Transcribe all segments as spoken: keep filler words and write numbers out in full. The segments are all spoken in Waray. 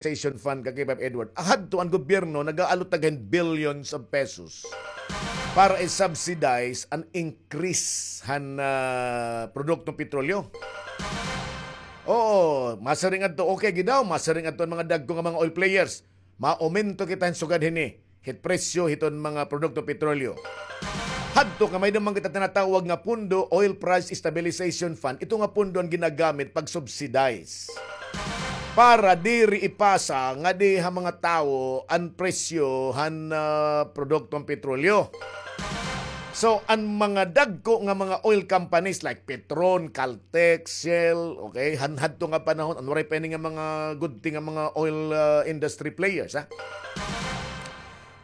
Stabilization Fund, ka K five Edward. Ahadto an gobyerno nag-aalot tag billions of pesos para i-subsidize an increase han, ah, produktong petrolyo. Oo, masiring adto, okay gid daw, masiring adto an mga dagko nga mga oil players. Maumento kita hin sugad hini hit presyo hiton mga produkto petrolyo. Hadto kay may-ada man kita tinatawag nga pondo, Oil Price Stabilization Fund. Ito nga pondo an ginagamit pag-subsidize para diri ipasa ngadi ha mga tawo an presyo han, ah, produktong petrolyo. So, an mga dagko nga mga oil companies like Petron, Caltex, Shell, okay, han hadto nga panahon, an waray pa ini nga mga gudti nga mga oil, ah, industry players, ha?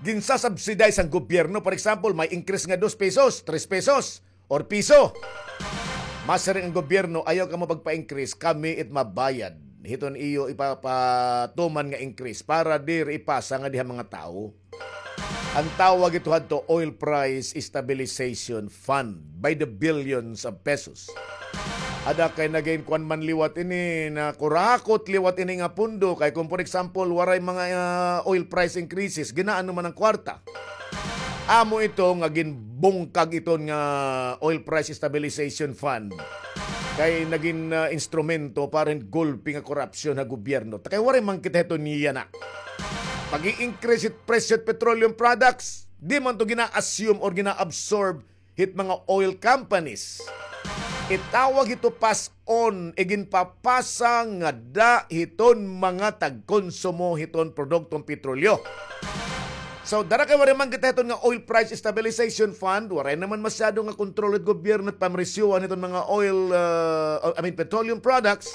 Ginsasubsidize an gobyerno. For example, may increase nga dos pesos, tres pesos, or piso. Masiring an gobyerno, ayaw kamo pagpa-increase, kami it mabayad hiton iyo ipapatuman nga increase para diri ipasa ngadi ha mga tawo. An tawag ito hadto, Oil Price Stabilization Fund, by the billions of pesos. Ada kay nagin kuan man liwat ini, nakurakot liwat ini nga pondo, kay kung, for example, waray mga, ah, oil price increases, ginaano man an kwarta. Amo ito nga ginbungkag iton nga Oil Price Stabilization Fund kay nagin, ah, instrumento para hin gulpi nga korupsyon ha gobyerno. Ta kay waray man kita hiton yana. Pag-i-increase it presyo hit petroleum products, di man to gina-assume or gina-absorb hit mga oil companies. Itawag hito pass-on, iginpapasa ngada hiton mga tagkonsumo hiton produktong petrolyo. So, dara kay waray man kita hiton nga Oil Price Stabilization Fund, waray naman masyado nga kontrol hit gobyerno hit pamresyohan hiton mga oil, uh, I mean, petroleum products,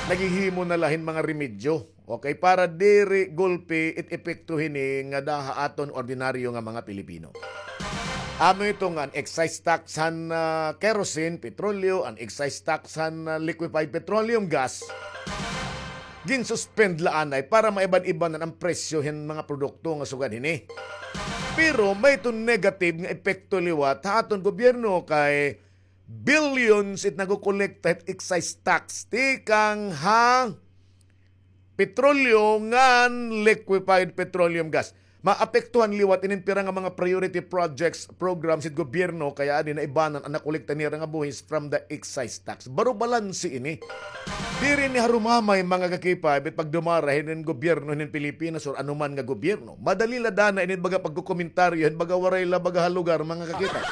naghihimo na la hin mga remedyo. Okay, para diri gulpi it epekto hini ngada ha aton ordinaryo nga mga Pilipino. Amo ito nga an excise tax han, ah, kerosene, petrolyo, an excise tax han, ah, liquefied petroleum gas, ginsuspend la anay para maiban-ibanan an presyo hin mga produkto nga sugad hini. Pero may iton negative nga epekto liwat ha aton gobyerno kay billions it nagokolekta hit excise tax tikang ha petrolyo ngan liquefied petroleum gas. Maapektuhan liwat inin pira nga mga priority projects, programs hit gobyerno, kay adi naibanan an nakolekta nira nga buhis from the excise tax. Baro balanse ini. Diri ini harumamay, mga ka-K five, it pagdumara hinin gobyerno hinin Pilipinas or anuman nga gobyerno. Madali la dana inin baga pagkokomentaryo hin baga waray la baga ha lugar, mga ka-K five.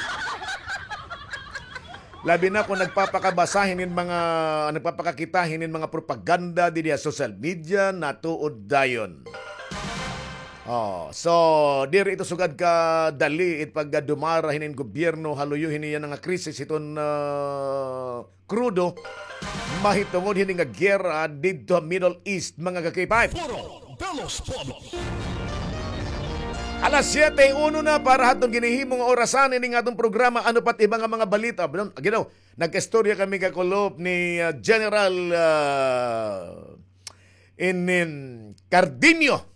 Labi na kon nagpapakabasa hinin mga, nagpapakakita hinin mga propaganda didi ha social media, natuod dayon. Oh, so, diri ito sugad kadali it pagdumara hinin gobyerno ha luyo hini yana nga krisis hiton, ah, krudo, mahitungod hini nga giyera didto ha Middle East, mga ka-K five. Foro de los Pueblos. Alas siyete y uno na para ha aton ginhihimo nga orasan ini nga aton programa. Ano pa it iba nga mga balita? Ginaw, nagkaistorya kami kakulop ni, ah, General, ah, inin Cardinio.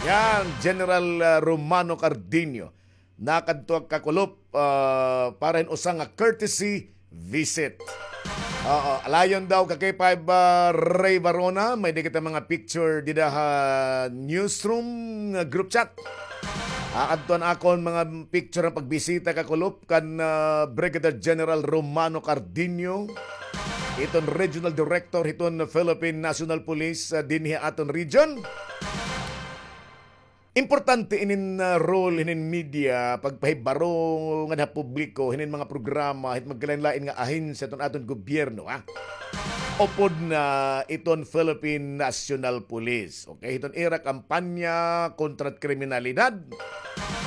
Yan, General, ah, Romano Cardinio. Nakadto kakulop, ah, para hin usa nga courtesy visit. Oo, alayon daw ka-K five, ah, Ray Varona, may-ada kita mga picture dida ha newsroom nga group chat. Aadto an akon mga picture nga pagbisita kakulop kan, ah, Brigadier General Romano Cardinio, iton Regional Director hiton Philippine National Police, ah, dinhi ha aton region. Importante inin, ah, role hinin media, pagpahibaro ngada ha publiko hinin mga programa hit magkalain-lain nga ahensya hiton aton gobyerno, ha. Upod na iton Philippine National Police, okay? Hiton ira kampanya kontra kriminalidad,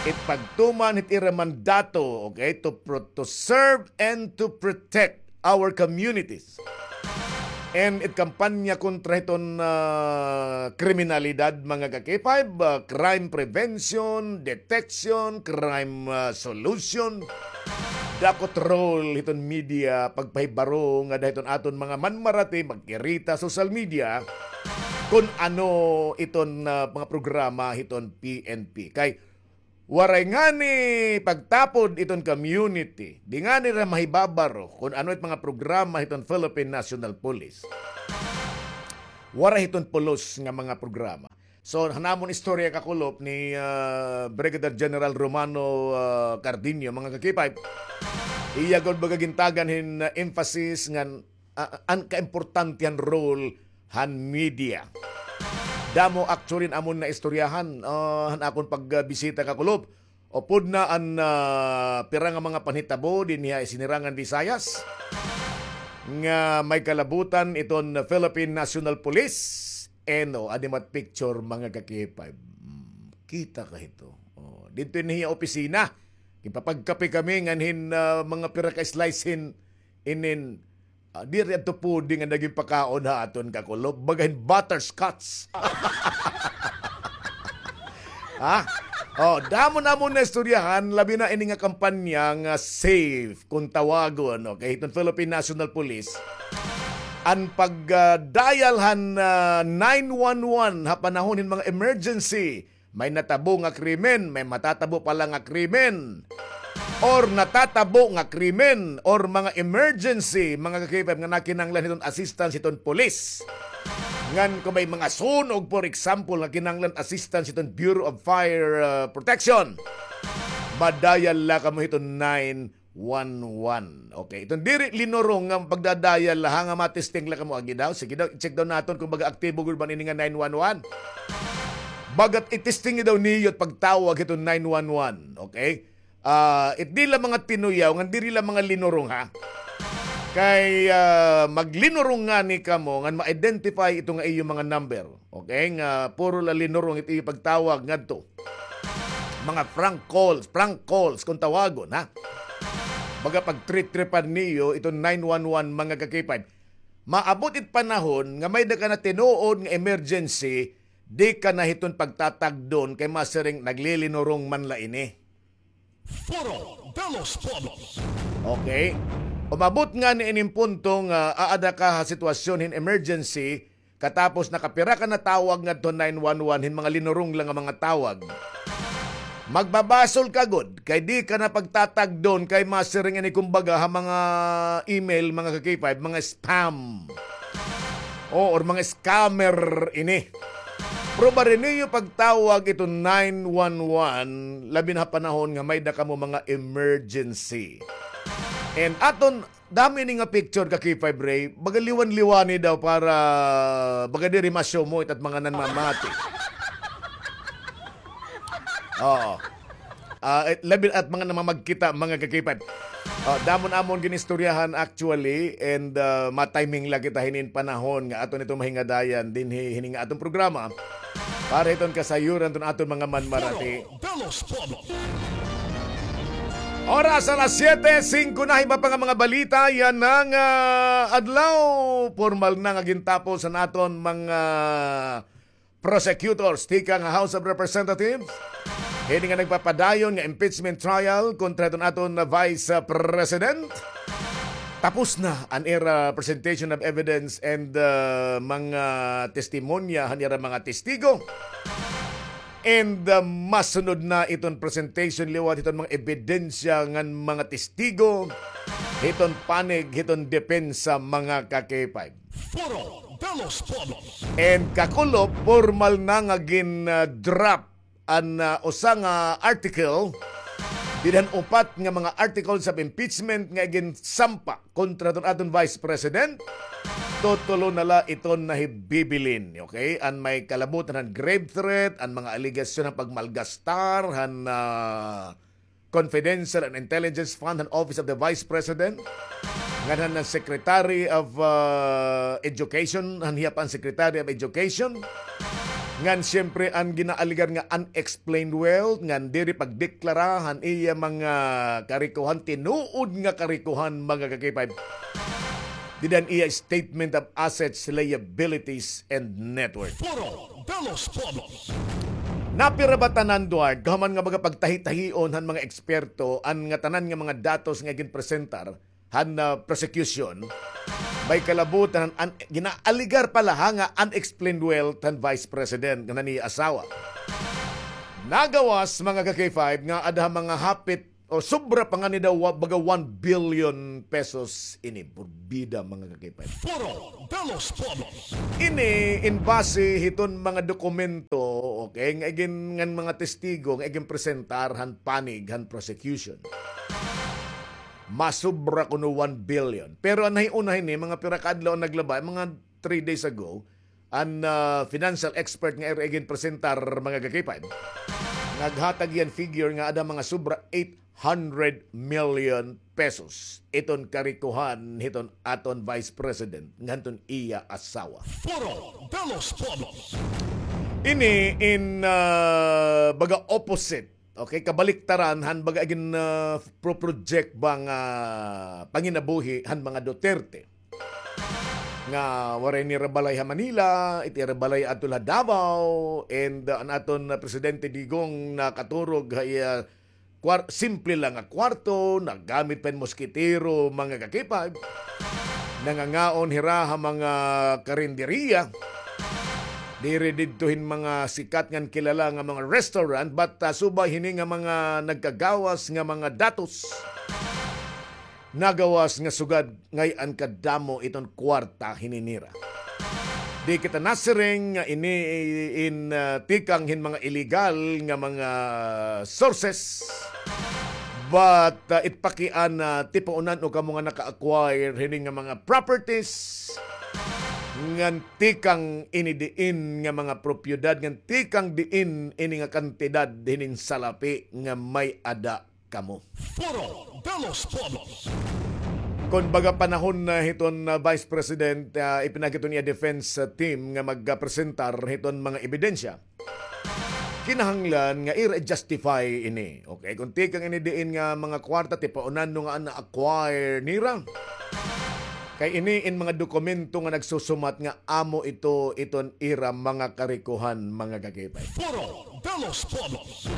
it pagtuman hit ira mandato, okay, to pro-, to serve and to protect our communities. And it kampanya kontra hiton, ah, kriminalidad, mga ka-K five, ah, crime prevention, detection, crime, ah, solution. Dako it role hiton media pagpahibaro ngada hiton aton mga manmarati, magkirita social media kon ano iton, ah, mga programa hiton P N P. Kay waray ngani pagtapod iton community, di ngani nira mahibabaro kon ano it mga programa hiton Philippine National Police. Waray hiton pulos nga mga programa. So, han amon istorya, kakulop, ni, ah, Brigadier General Romano, ah, Cardenio, mga ka-K five, iya gud baga gintagan hin, ah, emphasis ngan, ah, an kaimportante han role han media. Damo actually an amon naistoryahan, ah, han akon pagbisita, kakulop. Upod na an, ah, pira nga mga panhitabo dinhi ha Sinirangan Visayas nga may kalabutan iton Philippine National Police. Eno, adi mat picture, mga ka-K five. Hmm, kita ka hito. Oh, didto ini hiya opisina. Ginpapagkape kami ngan hin, ah, mga pira ka slice hin inin, ah, diri adto pwede nga nagin pakaon ha aton, kakulop. Baga hin butterscotch. Ha? Oh, damo namon naistoryahan, labi na ini nga kampanya nga SAFE, kung tawagon, okay, hiton Philippine National Police. An pag, ah, dial han, ah, nine one one ha panahon hin mga emergency, may natabo nga krimen, may matatabo pa la nga krimen, or natatabo nga krimen, or mga emergency, mga ka-K five, nga nakinahanglan hiton assistance hiton pulis. Ngan kung may mga sunog, for example, nga kinahanglan assistance hiton Bureau of Fire, ah, Protection, madayal la kamo hiton nine one one. Okay, iton diri linurong nga pagdadayal la, ha, nga matesting la kamo, agi daw. Sige daw, i-check daw naton kung baga aktibo gud ba ini nga nine one one. Bagat i-testing daw niyo it pagtawag hiton nine one one, okay? Ah, it di la mga tinuyaw, ngan diri la mga linurong, ha? Kay, ah, maglinurong ngani kamo ngan ma-identify ito nga iyo mga number. Okay, nga puro la linurong it iyo pagtawag ngadto. Mga prank calls, prank calls kung tawagon, ha? Baga pagtritripan niyo iton nine one one, mga ka-K five. Maabot it panahon nga may-ada ka na tinuod nga emergency, di ka na hiton pagtatagdon kay masiring naglilinurong man la ini. Foro de los Pueblos. Okay. Umabot ngani inin punto nga aada ka ha sitwasyon hin emergency, katapos nakapira ka na tawag ngadto nine one one hin mga linurong la nga mga tawag. Magbabasol ka gud, kay di ka na pagtatagdon, kay masiring ini kumbaga ha mga email, mga ka-K five, mga spam. O, or mga scammer ini. Pero bari niyo pagtawag ito nine one one, labi na ha panahon nga may-ada kamo mga emergency. And aton, damo ini nga picture, ka-K five Ray, baga liwan-liwani daw para baga diri ma-show mo itat mga nanmamati. Oo. Ah, eh, labi at mga namamagkita, mga ka-K five. Ah, damo namon ginistoryahan actually, and, ah, matiming la kita hinin panahon nga aton ito mahingadayan dinhi hini nga aton programa para hiton kasayuran hiton aton mga manmarati. Foro de los Pueblos. Oras alas siyete singko na, iba pa nga mga balita yana nga, ah, adlaw. Pormal na nga gintapos an aton mga prosecutors tikang House of Representatives hini nga nagpapadayon nga impeachment trial kontra hiton aton Vice, uh, President. Tapos na an ira presentation of evidence and, uh, mga testimonya han ira mga testigo. And, uh, masunod na iton presentation liwat hiton mga ebidensya ngan mga testigo hiton panig hiton depensa, mga ka-K five. Foro de los Pueblos. And kakulop, pormal na nga gin, ah, drop an, ah, usa nga article dinhi han upat nga mga articles of impeachment nga ginsampa kontra hiton aton Vice President. Tutulo na la iton nahibibilin, okay? An may kalabutan han grave threat, an mga alegasyon han pagmalgastar han, ah, confidential and intelligence fund han Office of the Vice President, ngan han Secretary of, uh, Education, han hiya pa an Secretary of Education, ngan siyempre an ginaaligar nga unexplained wealth, ngan diri pagdeklara han iya mga karikohan, tinuod nga karikohan, mga ka-K five. Dida han iya statement of assets, liabilities, and net worth. Foro de los Pueblos. Napira ba tanan, Duarte, kahuman nga mga pagtahi-tahion han mga eksperto, an nga tanan nga mga datos nga ginpresentar han, ah, prosecution, may kalabutan han, an, ginaaligar pala, ha, nga unexplained wealth han Vice President ngan han iya asawa. Nagawas, mga ka-K five, nga aada ha mga hapit o sobra pa ngani daw, wa-, baga one billion pesos ini. Burbida, mga kakipay. Foro de los Pueblos. Ini in base hiton mga dokumento, okay, nga igin-, ngan mga testigo nga iginpresentar han panig han prosecution. Masobra kuno one billion. Pero an nahiuna hini, mga pira ka adlaw an naglaba, mga three days ago, an, ah, financial expert nga ira iginpresentar, mga kakipay, naghatag hiya hin figure nga ada mga sobra eight hundred million pesos iton karikohan hiton aton Vice President nganton iya asawa. Foro de los Pueblos. Ini in, ah, baga opposite, okay, kabaliktaran han baga igin, ah, pro-project ba nga panginabuhi han mga Duterte, nga waray nira balay ha Manila, it ira balay adto la Davao, and, uh, an aton, uh, Presidente Digong nakaturog ha iya kwar-, simple la nga kwarto, nagamit pa hin moskitero, mga kakipay. Nangangaon hira ha mga karinderiya. Diri didto hin mga sikat ngan kilala nga mga restaurant, but, uh, subay hini nga mga nagkagawas nga mga datos. Nagawas nga sugad ngay-an kadamo iton kwarta hini nira. Di kita nasiring nga ini in, ah, tikang hin mga illegal nga mga sources. But, ah, it pakiana, tipaonan-o kamo nga naka-acquire hini nga mga properties ngan tikang ini diin nga mga propiedad, ngan tikang diin ini nga kantidad hinin salapi nga may-ada kamo. Foro de los Pueblos. Kon baga panahon na hiton, ah, Vice President, ah, ipinagi hiton iya defense, ah, team nga magpresentar hiton mga ebidensya, kinahanglan nga ira i-justify ini. Okay, kon tikang ini diin nga mga kwarta, tipaonan-o nga na-acquire nira. Kay ini in mga dokumento nga nagsusumat nga amo ito iton ira mga karikohan, mga kakipay. Foro de los Pueblos.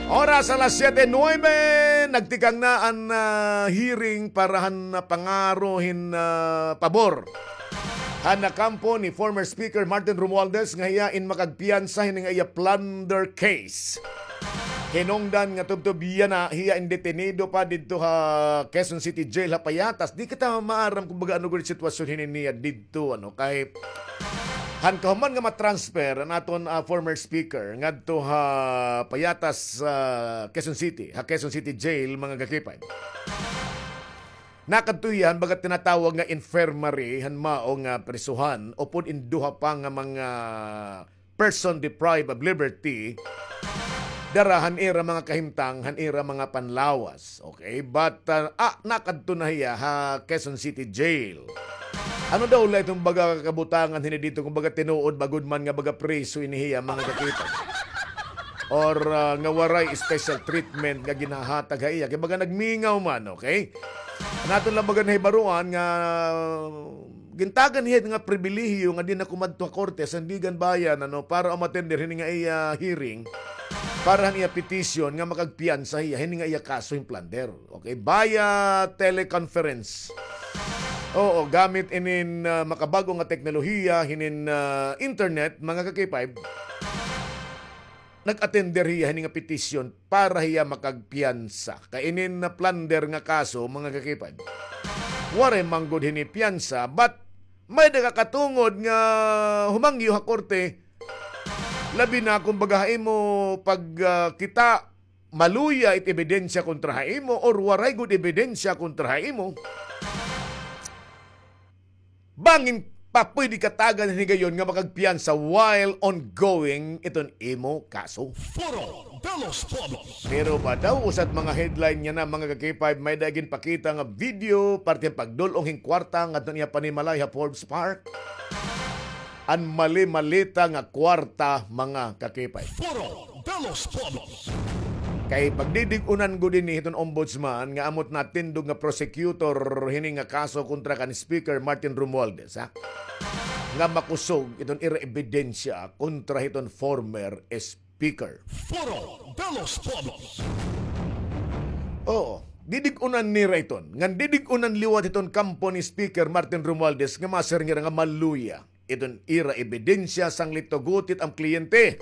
Oras alas siyete nuwebe, nagtikang na an, ah, hearing para han, ah, pangaro hin, ah, pabor han nakampo ni former Speaker Martin Romualdez nga hiya in makagpiyansa hini nga iya plunder case. Hinungdan nga tubtob yana, hiya in detenido pa didto ha Quezon City Jail ha Payatas. Di kita maaram kon baga ano gud sitwasyon hini niya didto, ano, kay han kahuman nga ma-transfer an aton, ah, former speaker ngadto ha Payatas, ah, Quezon City, ha Quezon City Jail, mga kakipay. Nakadto hiya han baga tinatawag nga infirmary, han mao nga prisuhan, upod in duha pa nga mga person deprived of liberty, dara han ira mga kahimtang, han ira mga panlawas. Okay? But, ah, ah, nakadto na hiya ha Quezon City Jail. Ano daw la iton baga kabutangan hini didto, kon baga tinuod ba gud man nga baga preso ini hiya, mga kakipay? Or, ah, nga waray special treatment nga ginhahatag ha iya? Kay baga nagmingaw man, okay? An aton la baga nahibaroan nga gintagan hiya nga pribilehiyo nga di na kumadto ha korte, Sandiganbayan, ano, para umatender hini nga iya hearing, para han iya petition nga makagpiyansa hiya hini nga iya kaso hin plunder. Okay, via teleconference. Oo, gamit inin, ah, makabag-o nga teknolohiya, hinin, ah, internet, mga kakipay. Nag-attender hiya hini nga petisyon para hiya makagpiyansa. Kay inin nga plunder nga kaso, mga kakipad, waray man gud hini piyansa, but may-ada ka katungod nga humangyo ha korte, labi na kon baga ha imo pag, ah, kita, maluya it ebidensya kontra ha imo or waray gud ebidensya kontra ha imo. Bangin pa pwede ka tagan hin higayon nga makagpiyansa while ongoing iton imo kaso. Foro de los Pueblos. Pero ba daw usa it mga headline yana, mga ka-K five, may-ada ginpakita nga video parte hin pagdul-ong hin kwarta ngadto niya panimalay ha Forbes Park. An mali-malita nga kwarta, mga ka-K five. Foro de los Pueblos. Kay pagdidig-unan gud ini hiton ombudsman nga amo it natindog nga prosecutor hini nga kaso kontra kan Speaker Martin Romualdez, ha? Nga makusog iton ira ebidensya kontra hiton former speaker. Foro de los Pueblos. Oo, didig-unan nira iton. Ngan didig-unan liwat hiton kampo ni Speaker Martin Romualdez nga masiring hira nga maluya iton ira ebidensya sanglit tugot it am kliyente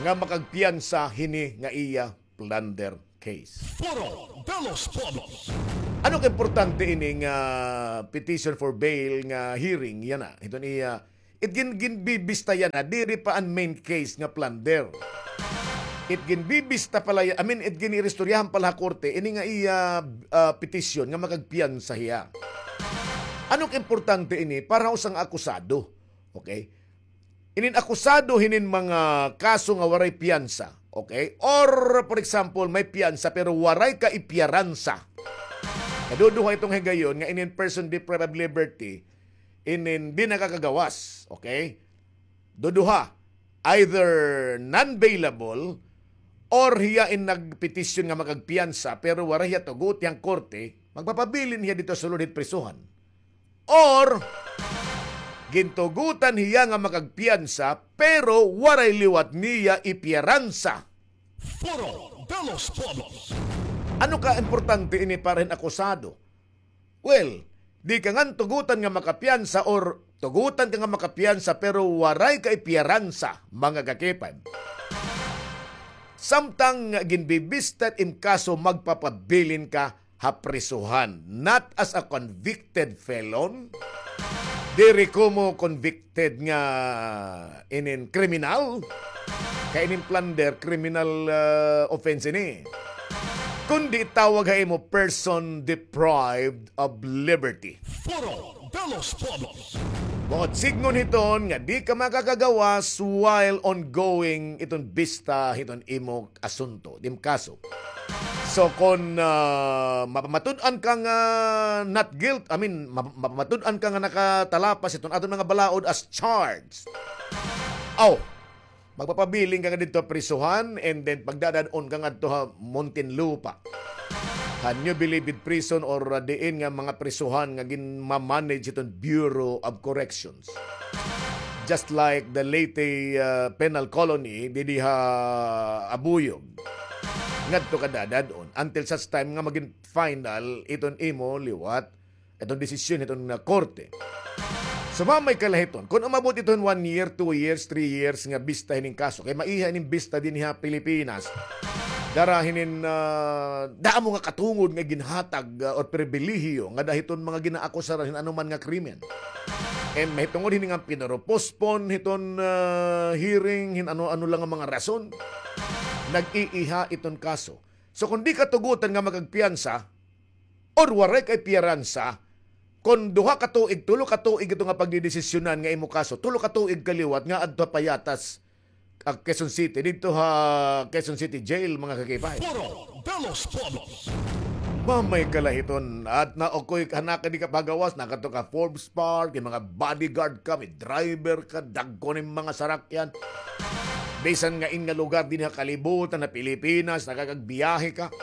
nga makagpiyansa hini nga iya plunder case. Foro de los Pueblos. Ano ka importante ini nga petition for bail nga hearing yana? Hiton iya, it gin-, ginbibista yana, diri pa an main case nga plunder. It ginbibista pa la ya-, I mean, it giniristoryahan pa la ha korte ini nga iya, ah, petition nga makagpiyansa hiya. Ano ka importante ini para ha usa nga akusado? Okay? Inin akusado hinin mga kaso nga waray piyansa, okay? Or, for example, may piyansa pero waray kaipiyaransa. Kaduduha iton higayon nga inin person deprived of liberty, inin di nakakagawas, okay? Duduha, either non-bailable or hiya in nagpetisyon nga makagpiyansa pero waray hiya tugot hiyang korte, magpapabilin hiya didto ha sulod hit prisohan. Or, gintugutan hiya nga makagpiyansa, pero waray liwat niya ipiyaransa. Foro de los Pueblos. Ano ka importante ini para hin akusado? Well, di ka ngan tugutan nga makapiyansa or tugutan ka nga makapiyansa, pero waray ka ipiyaransa, mga kakipad. Samtang ginbibista it im kaso, magpapabilin ka ha prisuhan. Not as a convicted felon. Diri komo convicted nga inin kriminal. Kay inin plunder, criminal, ah, offense ini. Kundi tawag ha imo person deprived of liberty. Foro de los Pueblos. Buot sidngon hiton nga di ka makakagawas while ongoing iton bista hiton imo asunto, dim kaso. So, kon, ah, mapamatud-an ka nga not guilt, I mean, map-, mapamatud-an ka nga nakatalapas iton aton mga balaod as charged. Aw, magpapabilin ka nga didto ha prisuhan, and then pagdadad-on ka ngadto ha Muntinlupa. Ha New Bilibid Prison or, ah, diin nga mga prisuhan nga ginmamanage iton Bureau of Corrections. Just like the Leyte, ah, Penal Colony, didi ha Abuyog. Ngadto ka dadad-on until such time nga magin final iton imo liwat, iton desisyon hiton, ah, korte. Sumamay ka la hiton. Kon umabot iton one year, two years, three years nga bista hining kaso, kay maiha ining bista dinhi ha Pilipinas. Dara hinin, ah, damo nga katungod nga ginhatag, ah, or pribilehiyo ngada hiton mga ginaakusaran hin anuman nga krimen. And mahitungod hini nga pinuro-postpone hiton, ah, hearing, hin ano-ano la nga mga rason, nag-iiha iton kaso. So, kon di ka tugutan nga makagpiyansa, or waray ka ipiyaransa, kon duha ka tuig, tulo ka tuig ito nga pagdidesisyonan nga imo kaso, tulo ka tuig ka liwat nga adto ha payatas, ah, Quezon City, didto ha Quezon City Jail, mga kakipay. Foro de los Pueblos. Mamay ka la hiton, at na ukoy ka na ka di ka pagawas, nakadto ka Forbes Park, may mga bodyguard ka, may driver ka, dagko nim mga sarakyan. Bisan nga in nga lugar dinhi ha kalibutan ha Pilipinas, nakakagbiyahe ka.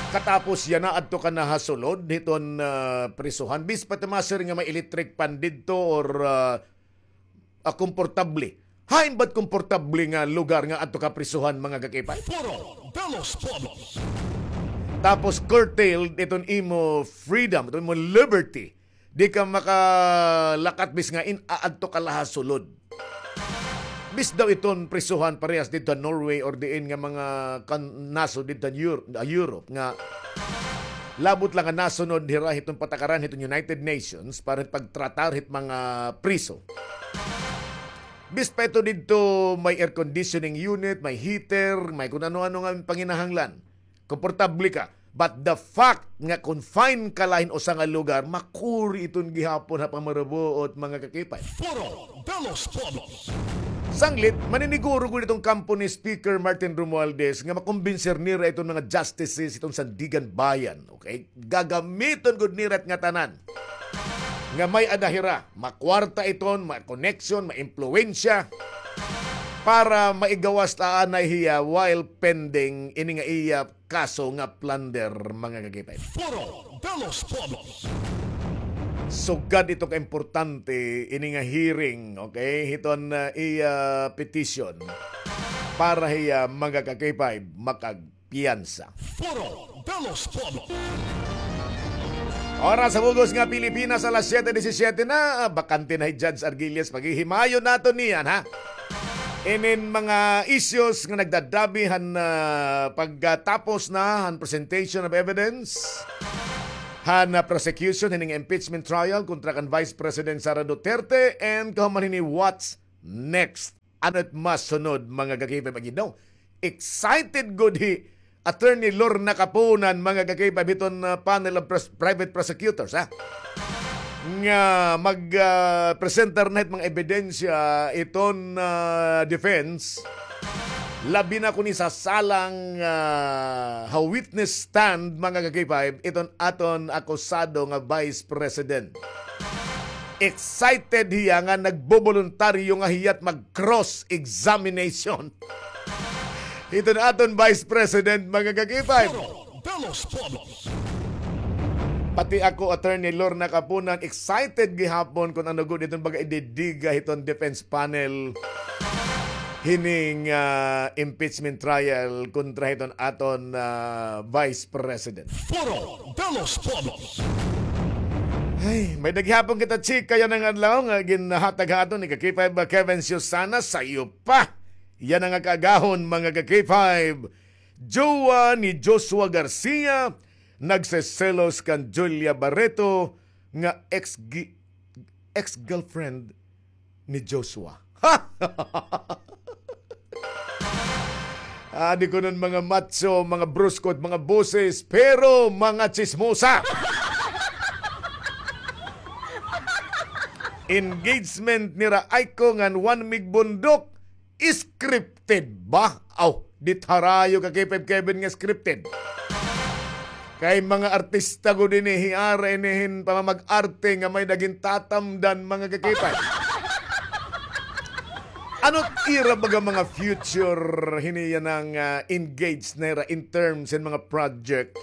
Katapos yana adto ka na ha sulod hiton, ah, prisuhan. Bis pa ito, ma-sir, nga may electric fan didto or, ah, ah, komportable. Hain ba't komportable nga lugar nga adto ka prisuhan, mga kakipay? Foro de los Pueblos. Tapos curtailed iton imo freedom, iton imo liberty. Di ka makalakat bis nga in aadto ka la ha sulod. Bis daw iton prisuhan parehas didto ha Norway or diin nga mga kan-, nasod didto ha Eur-, ha Europe nga labot la nga nasunod hira hiton patakaran hiton United Nations para pagtratar hit mga priso. Bis pa ito didto may air conditioning unit, may heater, may kun ano-ano nga panginahanglan. Komportable ka. But the fact nga confine ka la hin usa nga lugar, makuri iton gihapon ha pamarubuot, mga kakipay. Foro de los Pueblos. Sanglit, maniniguro gud iton kampo ni Speaker Martin Romualdez nga makumbinser nira iton mga justices iton Sandiganbayan, okay? Gagamiton gud nira it ngatanan nga may-ada hira, makwarta iton, ma-connection, ma-impluwensya para maigawas ta anay hiya while pending ini nga iya kaso nga plunder, mga kakipay. Foro de los Pueblos. Sugad ito ka importante ini nga hearing, okay? Hiton, ah, iya petition para hiya, mga kakipay, makagpiyansa. Foro de los Pueblos. Oras ha bug-os nga Pilipinas, alas siyete disisiyete na. Ah, bakante na hi Judge Arguelles. Paghihimayon naton niyan, ha? Inin mga issues nga nagdadabi han, ah, pagkatapos na han presentation of evidence han, ah, prosecution hining impeachment trial kontra kan Vice President Sara Duterte and kahuman hini, what's next? Ano it masunod, mga ka-K five? Agi daw, excited gud hi Attorney Lorna Kapunan, mga ka-K five, hiton, ah, panel of pros-, private prosecutors, ha? Nga mag, ah, presentar na hit mga ebidensya iton, ah, defense. Labi na kon isasalang, ah, ha witness stand, mga ka-K five, iton aton akusado nga Vice President. Excited hiya nga nagboboluntaryo nga hiya't mag-cross-examination hiton aton Vice President, mga ka-K five. Foro de los Pueblos. Pati ako, Attorney Lorna Kapunan, excited gihapon kon ano gud iton baga ididiga hiton defense panel hining, ah, impeachment trial kontra hiton aton, ah, Vice President. Foro de los Pueblos. Ay, may-ada gihapon kita chika yana nga adlaw nga ginhatag ha aton ni ka-K five Kevin Susana, sayo pa. Yana nga kaagahon, mga ka-K five. Jowa ni Joshua Garcia, nagseselos kan Julia Barreto nga ex-gi-, ex-girlfriend ni Joshua. Ha? Adi kuno an mga macho, mga bruskot, mga boses, pero mga tsismosa. Engagement nira Aiko ngan Juan Mig Bundok, scripted ba? Aw, di it harayo ka-K five Kevin nga scripted. Kay mga artista gud ini, hiara ini hin pamamag-arte nga may-ada gintatamdan, mga ka-K five. Ano it ira baga mga future hini yana nga, ah, engaged na ira in terms hin mga project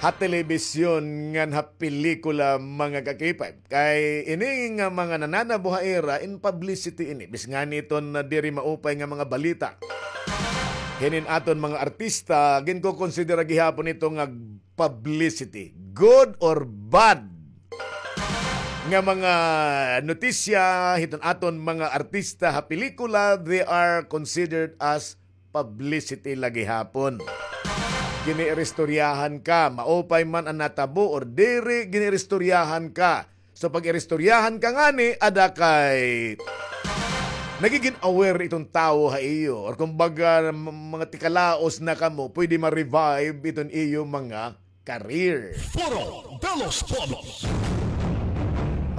ha telebisyon ngan ha pelikula, mga ka-K five? Kay ini nga mga nananabo ha ira in publicity ini. Bis ngani iton, ah, diri maupay nga mga balita. Hinin aton mga artista, ginkokonsidera gihapon ito nga publicity. Good or bad nga mga notisya hiton aton mga artista ha pelikula, they are considered as publicity la gihapon. Giniiristoryahan ka, maupay man an natabo or diri, giniiristoryahan ka. So, pag iristoryahan ka ngani, ada kay nagigin aware iton tawo ha iyo, or kumbaga, m-, mga tikalaos na kamo, pwede ma-revive iton iyo mga career. Foro de los Pueblos.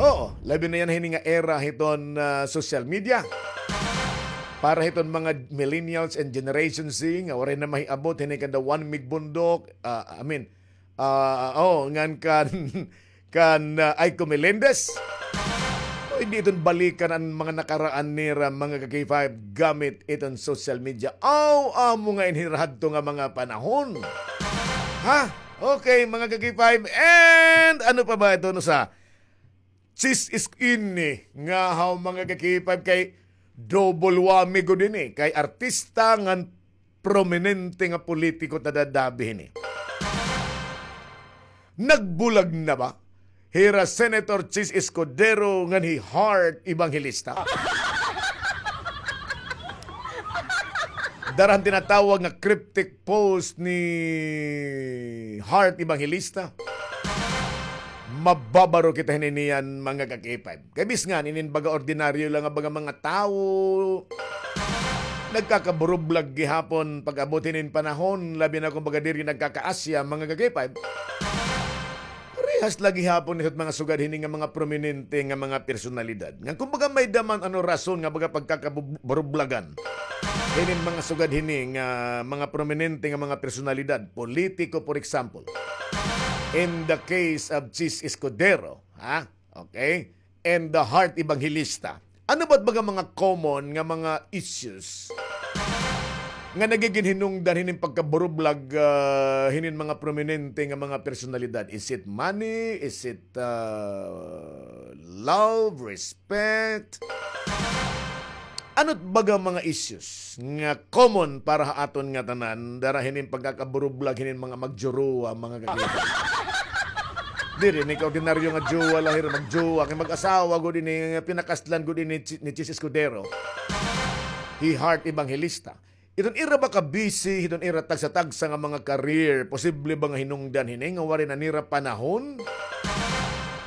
Oo, labi na yana hini nga era hiton, ah, social media. Para hiton mga millennials and Generation Z nga waray na mahiabot hini kanda Juan Mig Bundok, ah, I mean, ah, oh, ngan kan, kan, ah, Aiko Melendez. Pwede iton balikan an mga nakaraan nira, mga ka-K five, gamit iton social media. Aw, amo nga ini hira hadto nga mga panahon. Ha? Okay, mga ka-K five. And ano pa ba ito, no, sa Chis Isko ini nga haw, mga ka-K five, kay double whammy gud ini, kay artista ngan prominente nga politiko it nadadabi hini. Nagbulag na ba hira Senator Chis Escudero ngan hi Heart Evangelista? Dara han tinatawag nga cryptic post ni Heart Evangelista. Mababaro kita hini niyan, mga ka-K five. Kay bis ngan inin baga ordinaryo la nga baga mga tawo, nagkakaburublag gihapon pag-abot hinin panahon, labi na kon baga diri nagkakaasya, mga ka-K five. Parehas la gihapon hit mga sugad hini nga mga prominente nga mga personalidad. Nga kumbaga may-ada man ano rason nga baga pagkakaburublagan hinin mga sugad hini nga mga prominente nga mga personalidad, politiko, for example. In the case of Chis Escudero, ha? Okay? And the Heart Evangelista. Ano ba it baga mga common nga mga issues nga nagigin hinungdan hinin pagkaburublag, ah, hinin mga prominente nga mga personalidad? Is it money? Is it, ah, love, respect? Ano it baga mga issues nga common para ha aton ngatanan, dara hinin pagkakaburublag hinin mga magjowa, mga kakita? Diri ini ka ordinaryo nga jowa la hira, magjowa, kay mag-asawa gud ini, pinakaslan gud ini ni Chi-, ni Chis Escudero. hi Heart Evangelista. Iton ira ba ka-busy, iton ira tagsa-tagsa nga mga career, posible ba nga hinungdan hini nga waray na nira panahon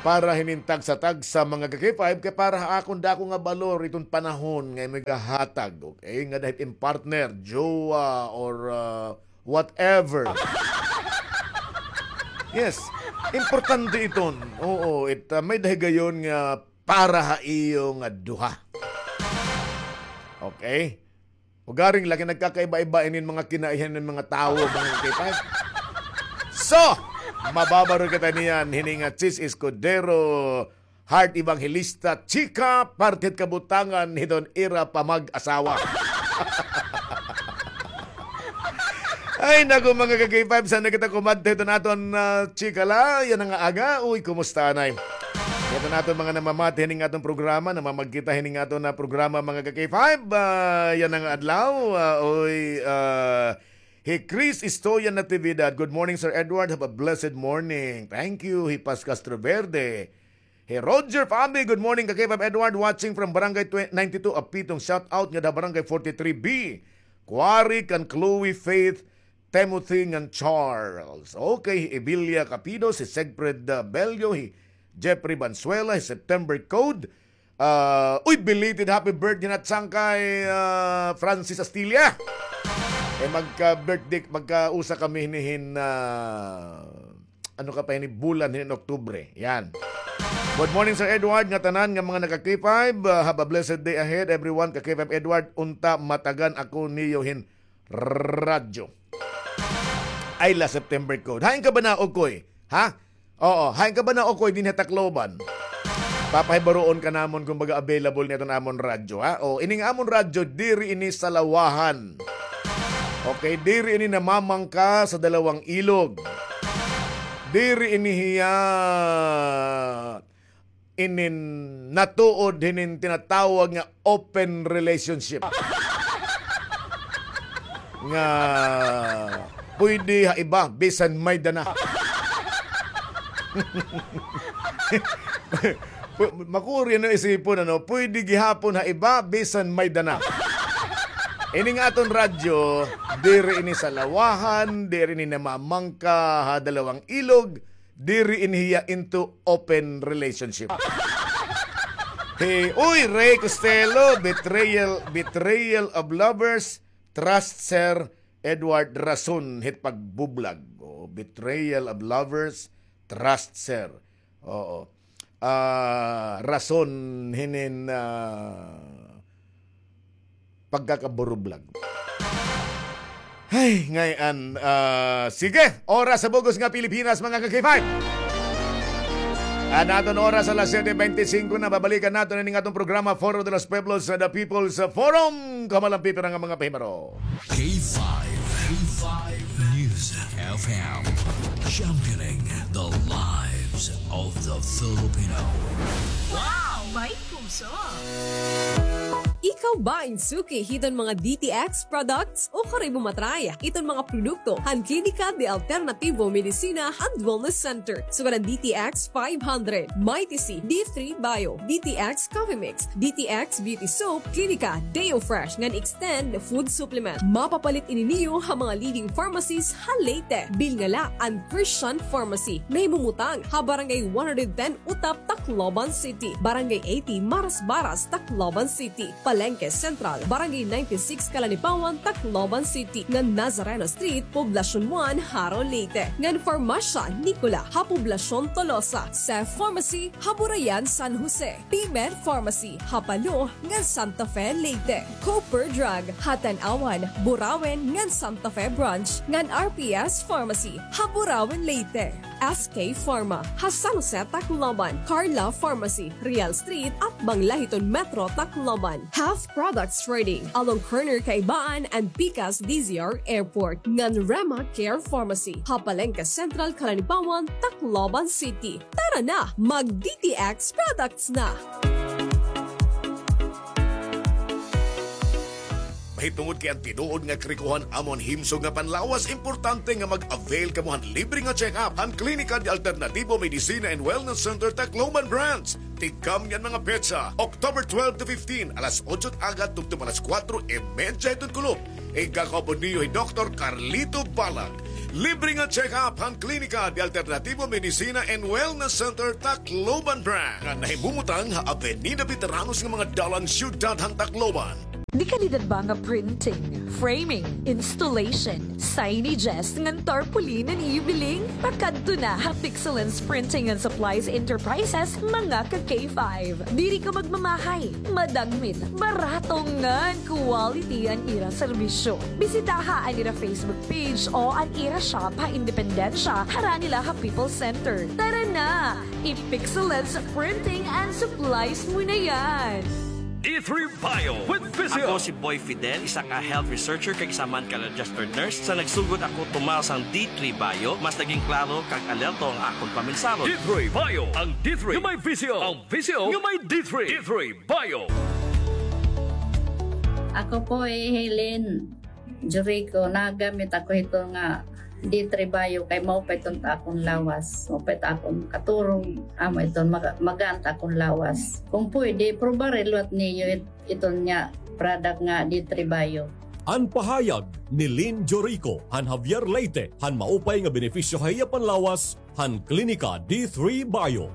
para hinin tagsa-tagsa mga ka-K five, kay para ha akon dako nga balor iton panahon nga imo igahatag, okay? Ngada hit im partner, jowa, or, ah, whatever. Yes, importante iton. Oo, it, ah, may-ada higayon nga para ha iyo nga duha. Okay? Ugaring lagi nagkakaiba-iba inin mga kinaihan hin mga tawo, mga ka-K five. So, mababaro kita niyan, hini nga Chiz Escudero, Heart Evangelista, chika, parte hit kabutangan hiton ira pamag-asawa. Ay, naku, mga ka-K five, sana kita kumadto hiton aton, ah, chika la, yana nga aga. Uy, kumusta, anay? Iton aton mga namamati hining aton programa, namamagkita hining aton nga programa, mga ka-K five, ah, yana nga adlaw, ah, uy, ah, hi Chris Istoyan Natividad. "Good morning, Sir Edward. Have a blessed morning." Thank you. Hi Paz Castroverde. Hi Roger Fabi, "Good morning, ka-K five Edward, watching from Barangay tw-, ninety-two Apitong. Shout out ngada ha Barangay forty-three B. Quarry kan Chloe, Faith, Timothy ngan Charles." Okay, hi Ebilia Capido, hi Segfred, uh, Bello, hi Jeffrey Banzuela, hi September Code. Uh, uy, belated happy birthday na sangkay, uh, Francis Astilla. Eh, magka-birthday, magkausa kami hini hin, uh, ano ka pa hini, bulan hini, Oktubre. Yan. "Good morning, Sir Edward, ngatanan nga mga naka-K five. Uh, have a blessed day ahead, everyone. Ka-K five Edward, unta matagan ako niyo hin radyo." Ay la, September Code. Hain ka ba na, Okoy? Ha? Oo, hain ka ba na, Okoy, dinhi ha Tacloban? Papahibaroon ka namon kung baga available niton amon radyo, ha? O, ining amon radyo, diri ini salawahan. Okay, diri ini namamangka sa dalawang ilog. Diri ini hiya inin natuod hinin tinatawag nga open relationship. Nga pwede ha iba, bisan may-ada na. Pu-, makuri na isipon, ano, pwede gihapon ha iba, bisan may-ada na. Ini nga aton radyo, diri ini salawahan, diri ini namamangka ha dalawang ilog, diri ini hiya into open relationship. Hey, uy, Ray Costello, betrayal, betrayal of lovers, trust Sir Edward, rason hit pagbublag. Oh, betrayal of lovers, trust Sir. Oo. Ah, rason hinin, ah, pagkakaburublag. Ay, ngay-an, ah, sige, oras sa bug-os nga Pilipinas, mga ka-K five. An aton oras alas siyete bente singko na, babalikan naton ini nga aton programa, Foro de los Pueblos, ah, The People's Forum. Kamalampi pira nga mga pahimaro. K five, K five News F M, championing the lives of the Filipino. Wow! May puso! Ikaw ba in suki hiton mga D T X products? O karay mo matry iton mga produkto han Klinika de Alternativo Medicina and Wellness Center. Sugad an D T X five hundred, Mighty C, D three Bio, D T X Coffee Mix, D T X Beauty Soap, Klinika Deo Fresh ngan Extend Food Supplement. Mapapalit ini niyo ha mga leading pharmacies ha Leyte. Bilngala an Christian Pharmacy. Nahimumutang ha Barangay one hundred ten Utap, Tacloban City, Barangay eighty Marasbaras, Tacloban City, Palenque Central, Barangay ninety-six Calanipawan, Tacloban City, ngan Nazareno Street, Poblacion one, Jaro, Leyte, ngan Farmacia Nicola ha Poblacion Tolosa, Cef Pharmacy ha Burayan, San Jose, P-Med Pharmacy ha Palo ngan Santa Fe, Leyte, Cooper Drug ha Tanauan, Burauen ngan Santa Fe Branch, ngan R P S Pharmacy ha Burauen, Leyte. S K Pharma ha San Jose, Tacloban, Carla Pharmacy, Real Street, atbang la hiton Metro Tacloban, Health Products Trading along corner Kaibaan and Pikas D Z R Airport, ngan Rema Care Pharmacy ha Palenque Central, Calanipawan, Tacloban City. Tara na, mag-D T X products na! Tungod kay an tinuod nga karikohan amo an himsog nga panlawas, importante nga mag-avail kamo han libre nga check-up han Klinika de Alternativo Medicina and Wellness Center Tacloban Branch. Tikang niyan mga petsa, October twelve to fifteen, alas otso agad tubtob alas kuwatro y medya hiton kulop. Igakaupod niyo hi Doktor Carlito Balag. Libre nga check-up han Klinika de Alternativo Medicina and Wellness Center Tacloban Branch, nga nahimumutang ha Avenida Veteranos nga mga dalan, siyudad han Tacloban. De kalidad ba nga printing, framing, installation, signages ngan tarpaulin an ibiling? Pakadto na ha Pixelens Printing and Supplies Enterprises, mga ka K five. Diri ka magmamahay, madagmit, barato ngan quality an ira serbisyo. Bisitaha an ira Facebook page o an ira shop ha Independencia, harani la ha People's Center. Tara na! I-Pixelens Printing and Supplies mo na yan! D three Bio with Visio. Ako si Boy Fidel, isa ka health researcher kag isa man ka registered nurse. Sa nagsugod ako tumaw sang D three Bio, mas naging klaro kag alerto ang akon pamensahon. D three Bio, ang D three nga may visyo, ang visyo nga may D three. D three Bio. Ako po hi Helen Jurico, nagamit ako hito nga D three Bio kay maupay iton ta akon lawas, maupay ta akon katurog, amo iton maga-, magaan ta akon lawas. Kung pwede, probare liwat niyo it-, iton nga product nga D three Bio. An pahayag ni Lynn Jorico han Javier Leyte han maupay nga benepisyo ha iya panlawas han Klinika D three Bio.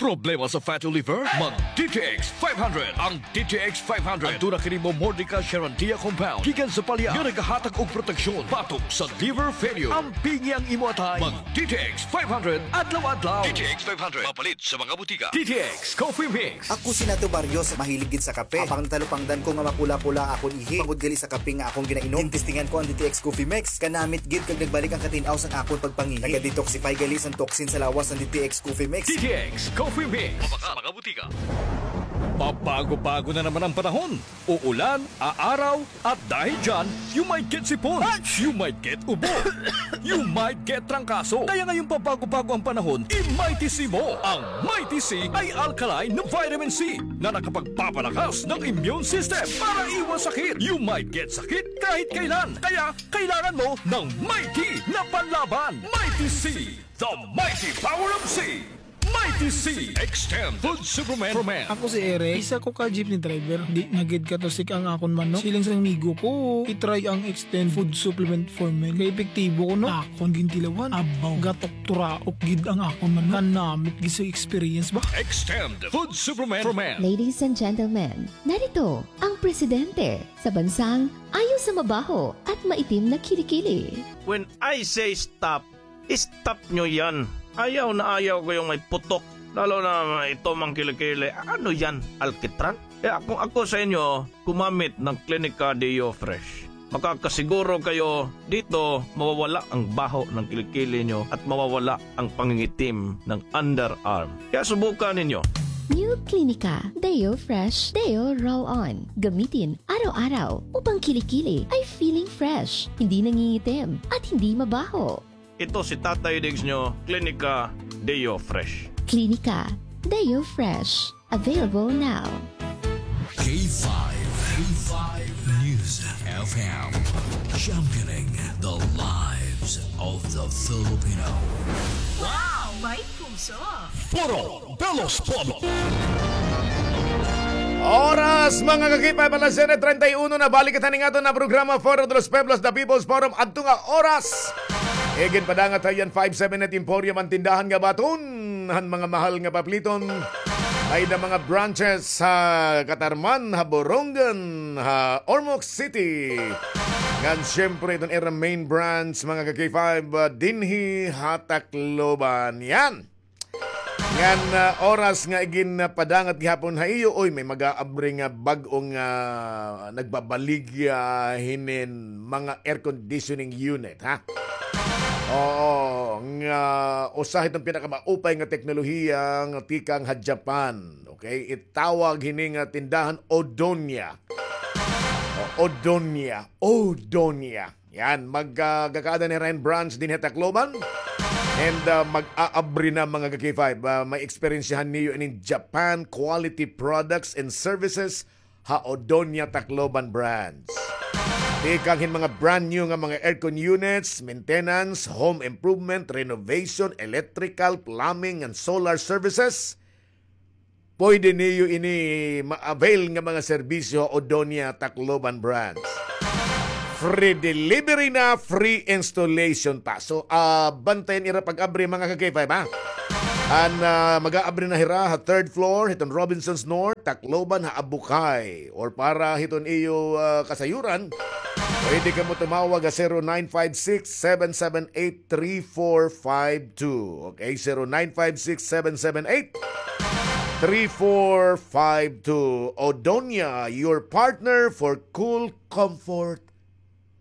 Problema sa fatty liver? Mag D T X five hundred. Ang D T X five hundred, aduna kini Momordica charantia compound gikan sa palya nga nagahatag og proteksyon batok sa liver failure. Ampingi ang imo atay. Mag D T X five hundred adlaw-adlaw. D T X five hundred, mapalit sa mga butika. D T X Coffee Mix. Ako si Nato Barrios, mahilig gid sa kape. Apang natalupangdan ko nga mapula-pula akon ihi tungod gali sa kape nga akon ginainom. Gintestingan ko an D T X Coffee Mix. Kanamit gid kag nagbalik an katin-aw san akon pagpangihi. Naga-detoxify gali san toxin sa lawas an D T X Coffee Mix. D T X Coffee Mix. Mabaka sa mga butika. Pabago-bago na naman ang panahon. Uulan, aaraw, at dahil dyan, you might get sipon, you might get ubo, you might get trangkaso. Kaya ngayong pabago-bago ang panahon, i-Mighty C mo. Ang Mighty C ay alkaline na vitamin C na nakapagpapalakas ng immune system para iwas sakit. You might get sakit kahit kailan. Kaya kailangan mo ng Mighty na panlaban. Mighty C, the mighty power of C. Mighty C Extend Food Supplement for Men. Ako si Eric, isa ko ka jeepney driver. Di na gid katusik ang akon manok. Siling sa amigo ko, i-try ang Extend Food Supplement for Men. Kay epektibo kuno. Akon gintilawan. Abaw, gatok-turaok gid ang akon manok. Kanamit gid sa experience ba. Extend Food Supplement for Men. Ladies and gentlemen, narito ang presidente sa bansang ayaw sa mabaho at maitim na kilikili. When I say stop, stop nyo yan. Ayaw na ayaw ko yung may putok. Lalo na ito mang kilikili. Ano yan? Alkitran? Kaya kung ako sa inyo, gumamit ng Clinica Deo Fresh. Makakasiguro kayo dito mawawala ang baho ng kilikili nyo at mawawala ang pangingitim ng underarm. Kaya subukan ninyo. New Clinica Deo Fresh Deo Roll-On. Gamitin araw-araw upang kilikili ay feeling fresh, hindi nangingitim, at hindi mabaho. Ito si Tatay Diggs nyo, Clinica Deo Fresh. Clinica Deo Fresh. Available now. K five, K five News F M. Championing the lives of the Filipino. Wow! May puso! Foro de los Pueblos. Oras, mga ka-K five, alas siyete treinta y uno na. Balik kita ning aton na programa, Foro de los Pueblos, The People's Forum. Adto nga oras, iginpadangat ha iya an five seven eight Emporium, an tindahan nga baton han mga mahal nga papliton. May da mga branches ha Catarman, ha Borongan, ha Ormoc City. Ngan siyempre, iton ira main branch, mga ka-K five, ah, dinhi ha Tacloban. Yan. Ngan, ah, oras nga iginpadangat gihapon ha iyo, oy, may mag-aabri nga bag-o nga nagbabaligya hinin mga air conditioning unit, ha? Oo, nga usa hiton pinakamaupay nga teknolohiya nga tikang ha Japan. Okay? Itawag hini nga tindahan Odonia. O, Odonia. Odonia. Yan, mag, ah, gakaada ni Ryan Branch dinhi ha Tacloban. And, ah, mag-aabri na, mga ka-K five. Ah, may eksperyensyahan niyo inin Japan quality products and services ha Odonia Tacloban branch. Tikang hin mga brand new nga mga aircon units, maintenance, home improvement, renovation, electrical, plumbing, and solar services, pwede niyo ini ma-avail nga mga serbisyo ha Odonia Tacloban branch. Free delivery na, free installation pa. So, ah, bantayan ira pag-abri, mga ka-K five, ha? An, ah, mag-aabri na hira ha third floor hiton Robinsons North, Tacloban, ha Abukay. Or para hiton iyo, ah, kasayuran, pwede kamo tumawag ha zero nine five six, seven seven eight, three four five two. Okay, zero nine five six, seven seven eight, three four five two. Odonia, your partner for cool comfort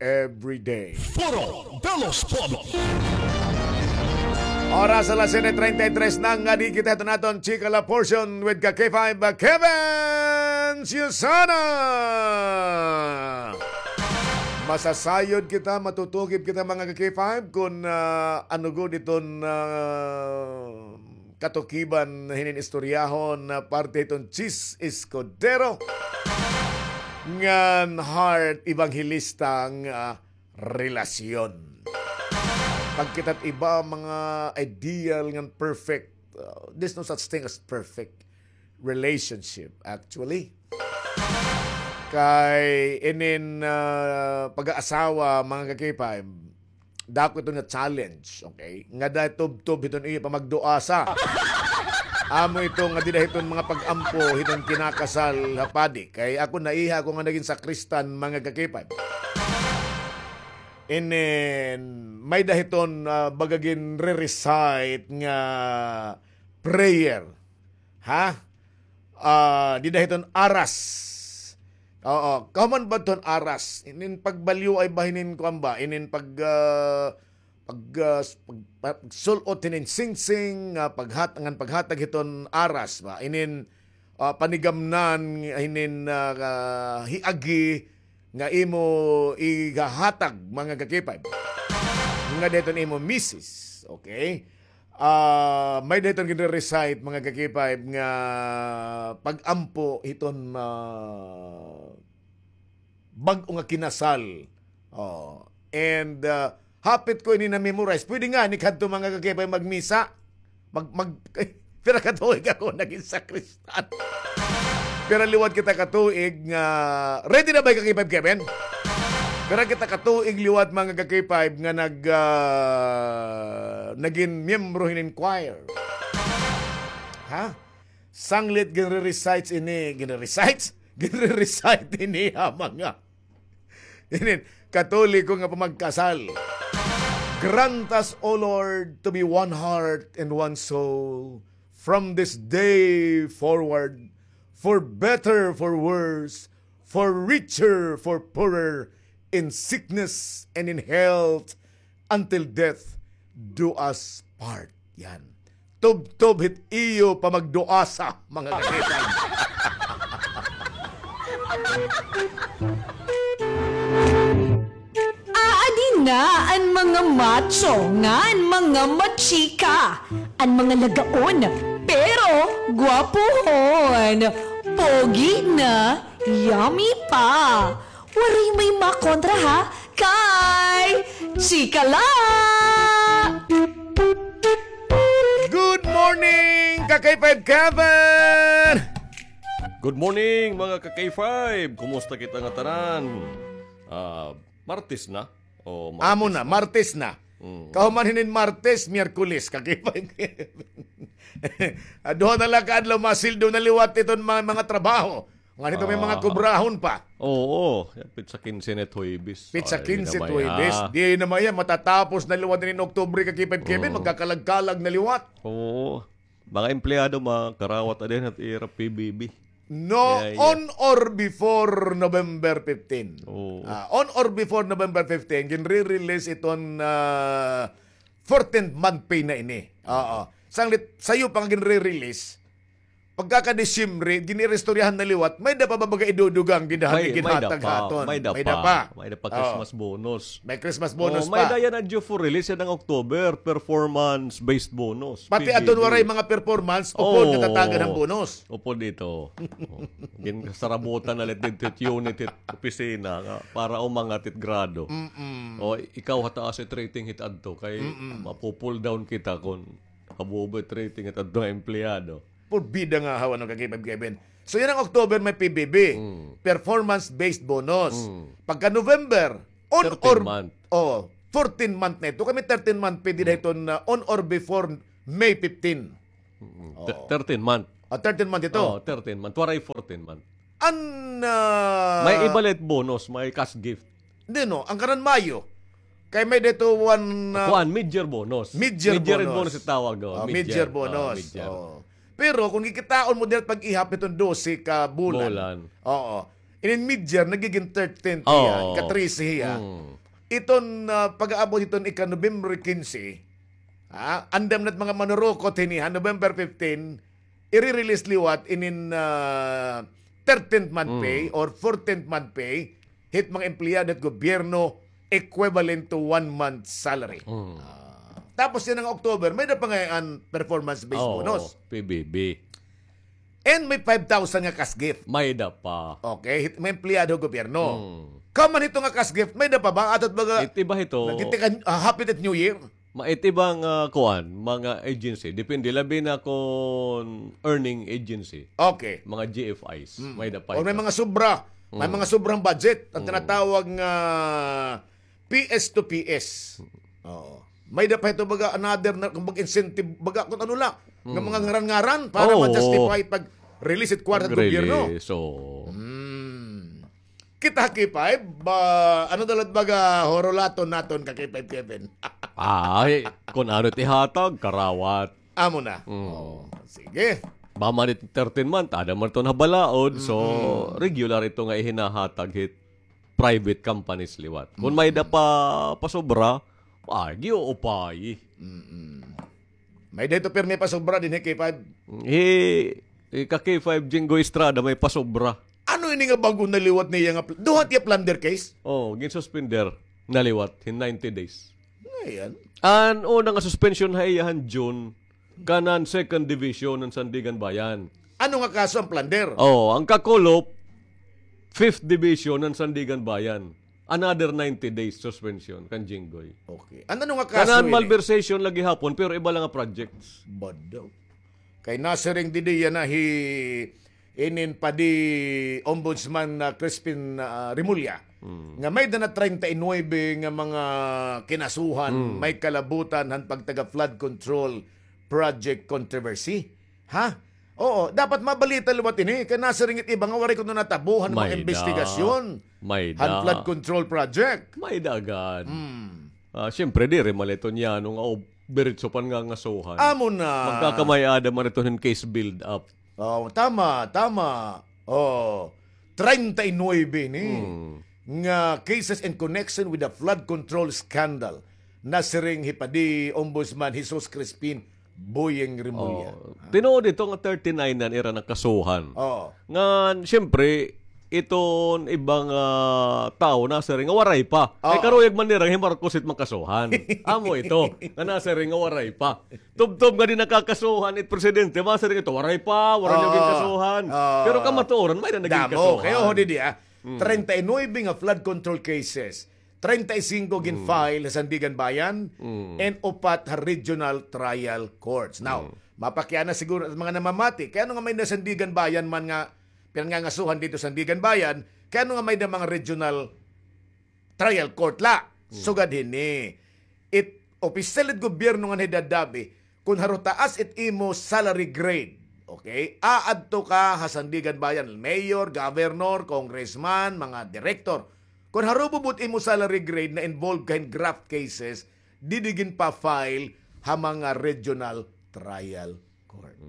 every day. Foro de los Pueblos. Oras alas siyete treinta y tres na, ngadi kita hiton aton Chika La Portion with ka-K five, Kevin Susana. Masasayod kita, matutukib kita, mga ka-K five, kon, ah, ano gud iton, ah, katukiban hinin istoryahon na parte hiton Chis Escudero ngan Heart Evangelista nga relasyon. Pagkita't iba, mga ideal ngan perfect, uh, there's no such thing as perfect relationship, actually. Kay inin, ah, pag-aasawa, mga ka-K five, dako ito nga challenge, okay? Ngada tubtob hiton iyo pamagduasa. Amo ito nga dida hiton mga pag-ampo hiton kinakasal ha padi. Kay ako, naiha ako nga nagin sakristan, mga ka-K five. Inin, may-ada hiton, ah, baga ginre-recite nga prayer. Ha? Ah, dida hiton aras. Oo, kahuman ba hiton aras? Inin pagbalyoay ba hinin kuan ba? Inin pag, ah, pag, ah, s-, pag, pag, pagsul-ot hinin singsing, ah, paghat-, ngan paghatag hiton aras ba? Inin, ah, panigamnan hinin, ah, hiagi nga imo igahatag, mga ka-K five. Ngada hiton imo misis, okay? Ah, may-ada hiton ginre-recite, mga ka-K five, nga pag-ampo hiton, ah, bag-o nga kinasal. Oh. And, ah, hapit ko ini na-memorize. Pwede ngani kadto, mga ka-K five, magmisa. Mag-, mag-, pira ka tuig ako nagin sakristan. Pira liwat kita ka tuig nga, ready na ba ka-K five, Kevin? Pira kita ka tuig liwat, mga ka-K five, nga nag-, ah, nagin miyembro hinin choir? Ha? Sanglit ginre-recites ini, ginre-recites? Ginre-recite ini ha mga inin Katoliko nga pamagkasal. Grant us, O Lord, to be one heart and one soul from this day forward, for better, for worse, for richer, for poorer, in sickness and in health, until death do us part. Yan. Tubtob hit iyo pamagduasa, mga ka-K five. Aadi na an mga macho ngan mga machika, an mga lagaon, pero gwapuhon, pogi na, yummy pa. Waray may makontra, ha? Kay chika la! Good morning, ka-K five Kevin! Good morning, mga ka-K five! Kumusta kita ngatanan? Ah, Martes na? O, Martes na. Amo na, Martes na. Mm. Kahuman hinin Martes, Miyerkules, ka-K five Kevin. Ah, duha na la ka adlaw, masildo na liwat iton mga, mga trabaho. Ngan hito may mga kubrahon pa. Oo, pitsa kinse na it Huwebes. Pitsa kinse it Huwebes. Di na maya, matatapos na liwat ini Oktubre, ka-K five Kevin, magkakalag-kalag na liwat. Oo. Mga empleyado, makarawat na din it ira P B B. No, on or before November fifteen. Oo. Ah, on or before November fifteen, ginre-release iton, ah, fourteenth month pay na ini. Oo. Sanglit, sayo pa nga ginre-release, Pagkaka-Disyembre, gin-iristoryahan na liwat, may-ada pa ba baga idudugang dida han ginhatag ha aton? May-ada pa. May-ada pa. May-ada pa Christmas bonus. May Christmas bonus pa. May-ada yana due for release yana nga October, performance-based bonus. Pati adton waray mga performance, upod natatagan han bonus. Upod ito. Ginsarabotan na la didto hit unit hit opisina nga para umangat it grado. O, ikaw ha taas it rating hit adto kay mapu-pull down kita kon habobo it rating hit adto nga empleyado. Porbida nga haw, ano, ka K five Kevin. So, yana nga October may P B B. Performance-based bonus. Pagka November, on or, oh, fourteen month na ito. Kami thirteen month pay dida hiton, ah, on or before May fifteen. Thirteen month. Ah, thirteen month ito. Oh, thirteen month. Waray fourteen month. An, ah, may iba la it bonus, may cash gift. Di, no, an kanan Mayo. Kay may-ada ito one, ah, kuan, mid-year bonus. Mid-year bonus it tawag, oh. Mid-year bonus. Pero kon kikitaon mo dida pag-ihap hiton dose ka bulan. Bulan. Oo. Inin mid-year, nagigin thirteenth hiya, ika-trese hiya. Iton, ah, pag-aabot hiton ika-November kinse, ha, andam na it mga manurukot hini, ha, November fifteen, ire-release liwat inin, ah, thirteenth month pay or fourteenth month pay hit mga empleyado hit gobyerno, equivalent to one month salary. Ah, tapos yana nga October, may-ada pa ngay-an performance-based bonus. P B B. And may five thousand nga cash gift. May-ada pa. Okay, hit mga empleyado gobyerno. Kaman hito nga cash gift, may-ada pa ba? Atot baga, it iba hito, nagitikan, ah, happy it New Year? It iba nga, ah, kuan, mga agency. Depende, labi na kon earning agency. Okay. Mga G F Is. May-ada pa hito. Or may mga sobra. May mga sobrang budget. An tinatawag nga P S to P S. Oo. May-ada pa hito baga another na, kumbaga, incentive, baga kon ano la, nga mga ngaran-ngaran para ma-justify pag-release it kwarta hit gobyerno. Pag-release, oo. Kita ha K five, ba, ano dalat baga horolaton naton ka K five Kevin? Ay, kon ano it ihatag, karawat. Amo na. Oo. Sige. Ba man it thirteen month, ada man iton ha balaod, so regular ito nga ihinahatag hit private companies liwat. Kon may-ada pa pasobra, ay, giuupay. May-ada ito pirmi pasobra dinhi K five. Hi, hi ka K five Jinggoy Estrada may pasobra. Ano ini nga bag-o na liwat niya nga pl-, duha tiya plunder case? Oh, ginsuspender na liwat hin ninety days. Ayan. An una nga suspension ha iya han June, kanan second division han Sandiganbayan. Ano nga kaso an plunder? Oh, an kakulop, fifth division han Sandiganbayan. Another ninety days suspension kan Jinggoy. Okay. An ano nga kaso ini? Kanan malversation la gihapon, pero iba la nga projects. Bado. Kay nasiring didi yana hi inin padi Ombudsman na Crispin, ah, Remulla, nga may-ada na treinta y nuebe nga mga kinasuhan, may kalabutan han pagtaga flood control project controversy. Ha? Oo, dapat mabalita liwat ini kay nasiring it iba nga waray kuno natabo han mga imbestigasyon han flood control project. May-ada gad. Ah, siyempre, diri man la ito niyan nga diretso pangangasuhan. Amo na. Magkakamay-ada man ito hin case build up. Oh, tama, tama. Oh, treinta y nuebe ni nga cases in connection with the flood control scandal. Nasiring hi padi Ombudsman Jesus Crispin Boying Remulla. Oh, tinuod ito nga thirty-nine an ira nakasuhan. Oh. Ngan, siyempre, iton ibang, ah, tawo nasiring nga waray pa. Ay, karuyag man nira hi Marcos it makasuhan. Amo ito, nga nasiring nga waray pa. Tubtob nga di nakakasuhan it presidente, masiring ito, waray pa, waray na ginkasuhan. Pero kamatuoran, may na naging kasuhan. Damo, kay oho didi, ah. Treinta y nuebe nga flood control cases. Treinta y cinco gin-file ha Sandiganbayan and upat ha regional trial courts. Now, mapakiana siguro it mga namamati, kay ano nga may-ada Sandiganbayan man nga pinangangasuhan didto Sandiganbayan, kay ano nga may-ada mga regional trial court la. Sugad hini, it opisyal it gobyerno ngan hi Dadabe, kon haro taas it imo salary grade, okay? Aadto ka ha Sandiganbayan, mayor, governor, congressman, mga direktor. Kon haro bubot imo salary grade na involved ka hin graft cases, didi ginpa-file ha mga regional trial court.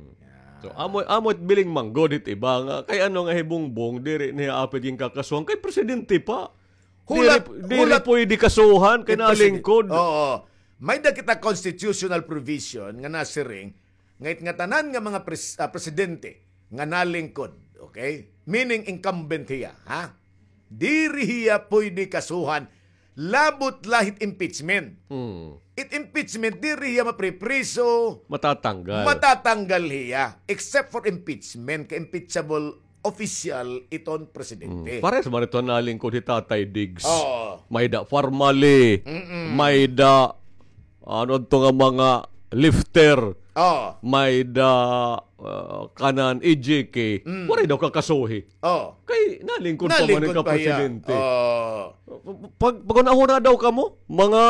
So, amo, amo it biling manggod hit iba nga, kay ano nga hi Bongbong, diri niya apid ginkakasuhan, kay presidente pa. Hulat, diri, diri pwede kasuhan kay nalingkod. Oo. May-ada kita constitutional provision nga nasiring nga it ngatanan nga mga pres-, ah, presidente nga nalingkod, okay? Meaning incumbent hiya, ha? Diri hiya pwede kasuhan, labot la hit impeachment. Mm. It impeachment, diri hiya mapripriso. Matatanggal. Matatanggal hiya, except for impeachment, kay impeachable official iton presidente. Mm. Parehas man ito nalingkod hi Tatay Diggs. Oo. May da formally, Mm-mm. may da, ano to nga mga lifter, Oo. may da, ah, kanan E J K. Mm. Waray daw kakasuhi. Oo. Kay nalingkod pa man Nalingkod ka pa hiya. presidente. Oo. Pag, paghunahuna daw kamo, mga,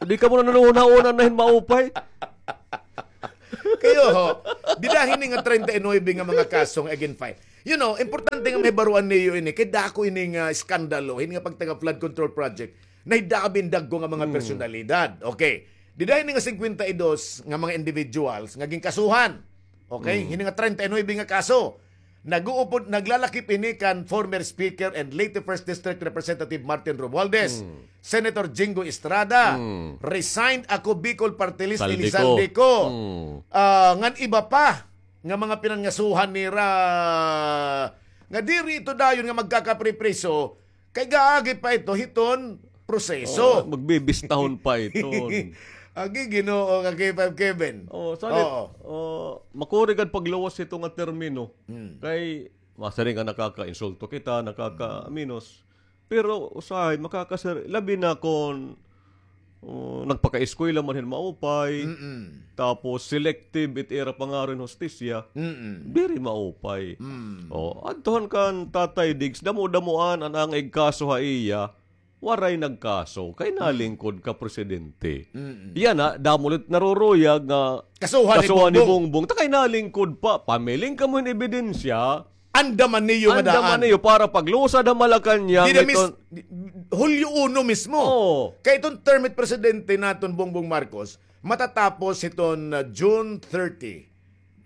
di kamo nanununa-una na hin maupay. Kayo, ho, dida hini nga treinta y nuebe nga mga kaso nga igin-file. You know, importante nga mahibaroan niyo ini, kay dako ini nga iskandalo, hini nga pagtaga flood control project, nahidabi hin dagko nga mga Hmm. personalidad. Okay. Dida hini nga singkwenta y dos nga mga individuals nga ginkasuhan. Okay? Hmm. Hini nga treinta y nuebe nga kaso. Nag-uupod, naglalakip ini kan former Speaker and late First District Representative Martin Romualdez, Hmm. Senator Jinggoy Estrada, Hmm. resigned Ako Bicol Party List, Eli Zaldy Co. Zaldy Co. Hmm. Ah, ngan iba pa nga mga pinangasuhan nira nga diri ito dayon nga magkakapripriso, kay gaagi pa ito hiton proseso. Oh, magbibistahon pa iton. Agi, Ginoo, ka K five Kevin. Oh, salit, Oo. oh, makuri gad pagluwas hito nga termino. Hmm. Kay, masiring nga nakakainsulto kita, nakakaminos. Pero usahay, makakasir-, labi na kon, oh, nagpakaeskwela man hin maupay, Mm-mm. tapos selective it ira pangaron hustisya, Mm-mm. diri maupay. Mm. Oh, adtuhan kan Tatay Diggs, damo-damoan an ang igkaso ha iya, waray nagkaso, kay Mm. nalingkod ka presidente. Mm-mm. Yana, damo la it naruruyag nga Kasuhan ni kasuhan ni Bongbong. Bongbong, ta kay nalingkod pa, pamiling kamo hin ebidensya, Andaman niyo nga daan. Andaman niyo para paglusad ha Malacañang Dida mis-, iton Hulyo uno mismo. Oo. Kay iton term it presidente naton Bongbong Marcos, matatapos hiton, ah, June thirty.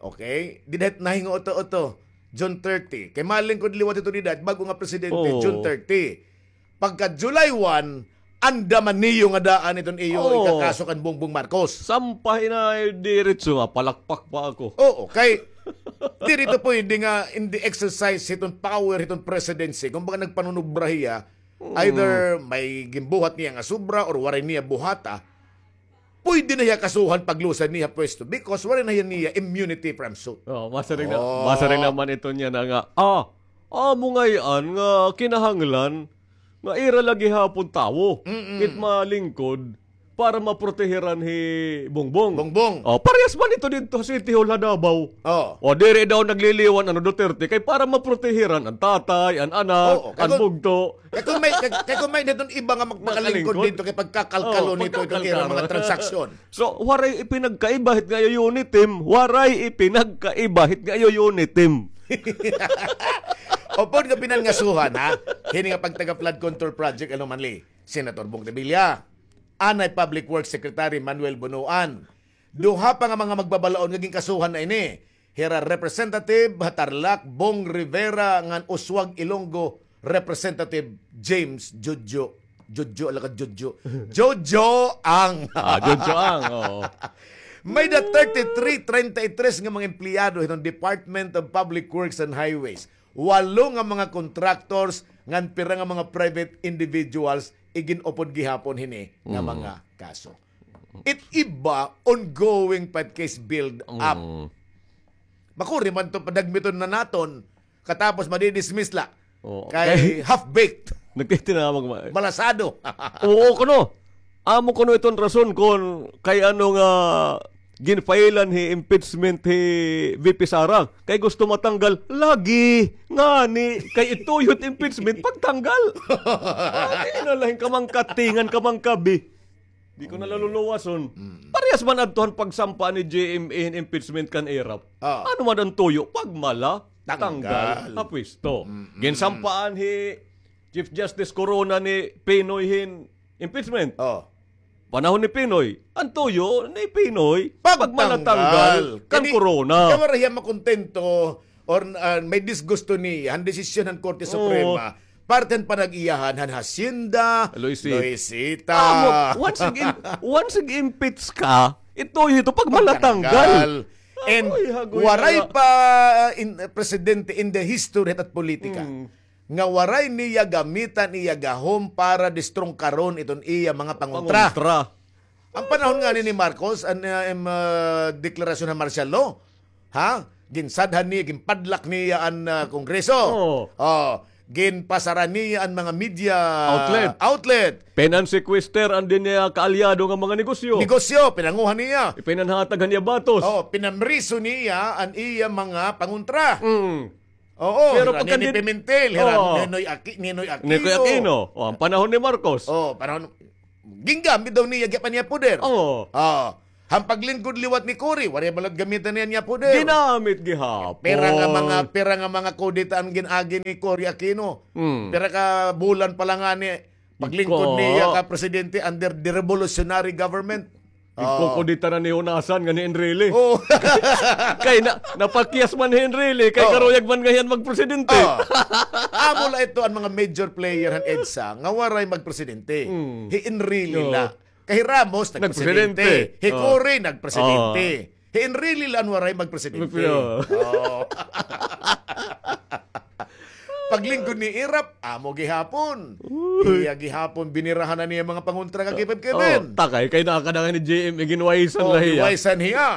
Okay? Dida hit nahingo uto-uto, June thirty. Kay malingkod liwat hito dida, bag-o nga presidente, Oo. June thirty. Pagka July one, andaman niyo nga daan iton iyo Oo. ikakaso kan Bongbong Marcos. Sampahi na diretso, mapalakpak pa ako. Oo, kay diri to pwede nga in the exercise hiton power hiton presidency. Kumbaga nagpanunubra hiya, Mm. either may ginbuhat niya nga sobra or waray niya buhata, pwede na hiya kasuhan paglusad niya pwesto because waray na hiya niya immunity from suit. Oh, masiring na, Oh. masiring naman ito niya na nga, ah, amo ngay-an nga kinahanglan nga ira la gihapon tawo, Mm-mm. it malingkod para maprotehiran hi Bongbong. Bongbong. Oh, parehas man ito didto ha City Hall ha Davao. Oh. O, diri daw nagliliwan an Duterte kay para maprotehiran an tatay, an anak, Oo, kay an kun, bugto. Kay kun may, kay, kay kun may naton iba nga magpakalingkod Makalingkod. didto kay pagkakalkalo Oo, nito, itong pagkakalkalo. ira mga transaksyon. So, waray ipinagkaiba hit nga iyo UNITIM, waray ipinagkaiba hit nga iyo UNITIM. Upod nga pinangasuhan, ha? Hini nga pagtaga flood control project, ano man li, Senator Bong Revilla, anay Public Works Secretary Manuel Bonoan. Duha pa nga mga magbabalaod nga ginkasuhan na ini. Hira Representative ha Tarlac, Bong Rivera, ngan Usuag Ilonggo, Representative James Jojo. Jojo, ala ka, Jojo. Jojo Ang. Ah, Jojo Ang, oo. May da thirty-three, treinta y tres nga mga empleyado hiton Department of Public Works and Highways. Walo nga mga contractors, ngan pira nga mga private individuals, igin-upod gihapon hini nga Mm. mga kaso. It iba, ongoing pa it case build up. Mm. Makuri man to, padagmiton na naton, katapos madidismiss la. Oo. Kay Kay half-baked. Nagtitinamag ma- Malasado. Oo, kuno. Amo kuno iton rason kon kay ano nga ginfailan hi impeachment hi V P Sara. Kay gusto matanggal. Lagi. Ngani. Kay ituyo it impeachment, pagtanggal. Ay, na lain kamangkatingan, kamangkabi. Di ko na laluluwason. Mm. Parehas man adto han pagsampa ni J M A hin impeachment kan Erap. Ah. Ano man an tuyo? Pagmala, Tanggal. tanggal ha pwesto. Mm-mm. Ginsampaan hi Chief Justice Corona ni Pinoy hin impeachment. Oh. Panahon ni Pinoy, an tuyo ni Pinoy, Pagtanggal. pagmala, tanggal kan Kani-, Corona. Kay waray hiya makontento or, ah, may disgusto niya han desisyon han Korte Oo. Suprema, parte han panag-iyahan han Hacienda, Luisita. Luisita. Amo, once ig-, once ig-impeach ka, ito, ito, pagmala, tanggal. Pagtanggal. And waray pa in, presidente in the history hit politika nga waray niya gamitan iya gahom para distrungkaron iton iya mga pangontra. An panahon ngani ni Marcos, an, ah, im, ah, deklarasyon han martial law, ha? Ginsadhan niya, ginpadlak niya an, ah, Kongreso. Oh, ginpasara niya an mga media outlet. Pinansequester an din niya kaalyado nga mga negosyo. Negosyo, pinanguha niya. Pinanhatag han iya batos. Oh, pinamriso niya an iya mga pangontra. Oo, pero pagka Nini Pimentel, hira Ninoy Aki-, Ninoy Aquino. Ninoy Aquino. Oh, an panahon ni Marcos. Oh, panahon, gingamit daw niya, gipan niya poder. Oo. Oh. Han paglingkod liwat ni Cory, waray bala gamitan niya niya poder. Ginamit gihapon. Pira nga mga, pira nga mga kudeta an gin-agi ni Cory Aquino. Hmm. Pira ka bulan pa la ngani, paglingkod niya ka presidente under the revolutionary government. Ginkukuditan na ni Hunasan nga ni Enrile. Oh. Kay na, napakyas man hi Enrile, kay karuyag man nga hiya an magpresidente. Oh. Amo la ito an mga major player han EDSA nga waray magpresidente. Hmm. Hi Enrile la. Kay hi Ramos, nagpresidente. Nagpresidente. Hi Cory, nagpresidente. Hi Enrile la an waray magpresidente. Oh. Paglingkod ni Erap, amo gihapon. Iya gihapon, binirahan na niya mga pangontra ka K five Kevin. Oh, takay, kay nakakadangay ni J M, eh, ginwaysan la hiya. Ginwaysan hiya.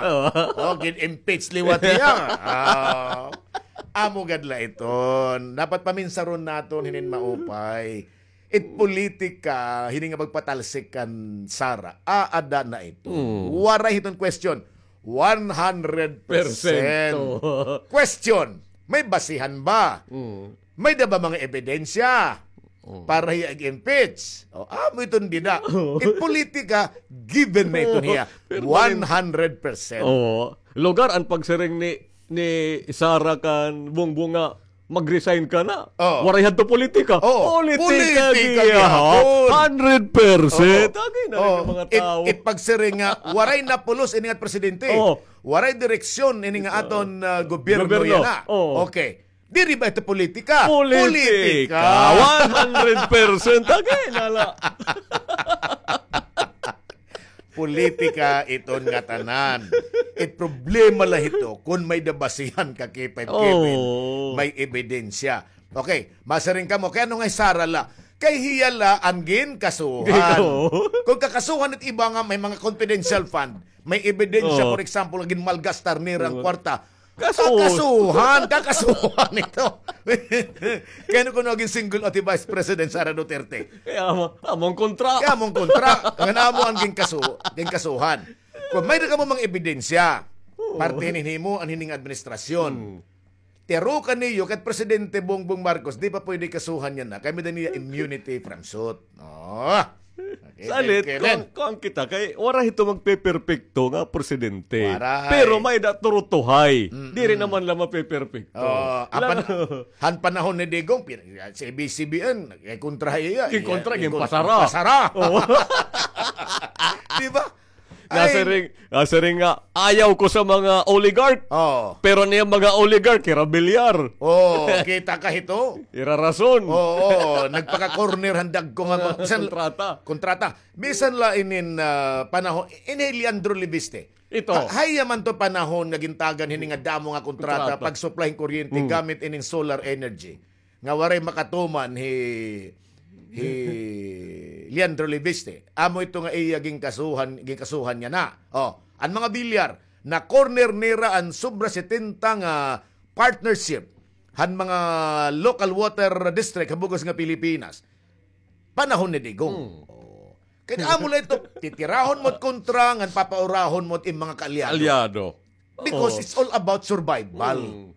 Oh, gin-impeach liwat hiya. Ah, amo gad la iton. Dapat paminsaron naton hinin maupay. It politika, hini nga pagpatalsik kan Sara, aada na ito. Mm. Waray hiton question. One hundred percent. Question, may basihan ba? Mm. May da ba mga ebidensya para hiya ig-impeach? O, amo iton dida. It politika, given na iton hiya. One hundred percent. Oo. Lugar an pagsiring ni, ni Sara kan Bongbong nga mag-resign ka na. Oh. Waray hadto politika. Oh, politika gihapon. Hundred percent. Agi na rin an mga tawo. It pagsiring nga, waray na pulos ini nga presidente. Oh. Waray direksyon ini nga aton, ah, gobyerno yana. Oh. Okay. Diri ba ito politika? Politika. One hundred percent. Agi na la. Politika iton ngatanan. It problema la hito, kon may da basihan ka K five Kevin, may ebidensya. Okay, masiring kamo, kay ano nga hi Sara la? Kay hiya la an ginkasuhan. Kon kakasuhan it iba nga may mga confidential fund, may ebidensya, for example, nga ginmalgastar nira an kwarta, Kasuhan. Kakasuhan, kakasuhan ito. Kay ano kuno naging single out hi Vice President Sara Duterte? Kay amo, amo an kontra. Kay amo an kontra. Ngan amo an ginkasu-, ginkasuhan. Kon may-ada kamo mga ebidensya, parte hinin himo an hining administrasyon. Tiyarukan niyo kay Presidente Bongbong Marcos, di pa pwede kasuhan yana. Kay may-ada niya immunity from suit. Oh. Salit, kuan, kuan kita, kay waray hito magpeperpekto nga presidente. Waray. Pero may-ada turutuhay. Mm-mm. Diri naman la mapeperpekto. Oh, han panahon ni Digong, si A B S-C B N, nagkontra hiya. Ginkontra, ginpasara. Pasara. Oh. Di ba? Nasiring, nasiring nga, ayaw ko sa mga oligarch. Oh. Pero niya mga oligarch, hira bilyar. Oh, kita ka hito? Ira rason. Oo, nagpaka-corner han dagko nga mga kontrata. Kontrata. Bisan la inin, ah, panahon, ini hi Leandro Leviste. Ito. Ha-, hain man to panahon nga gintagan hini nga damo nga kontrata, pag-supply hin kuryente gamit inin solar energy. Nga waray makatuman hi, hi Leandro Leviste. Amo ito nga iya ginkasuhan, ginkasuhan yana. Oh, an mga bilyar, na-corner nira an sobra setenta nga partnership han mga local water district ha bug-os nga Pilipinas. Panahon ni Digong. Hmm. Oh. Kay amo la ito, titirahon mo it kontra, ngan papaurahon mo it im mga kaalyado. Alyado. Because it's all about survival. Hmm.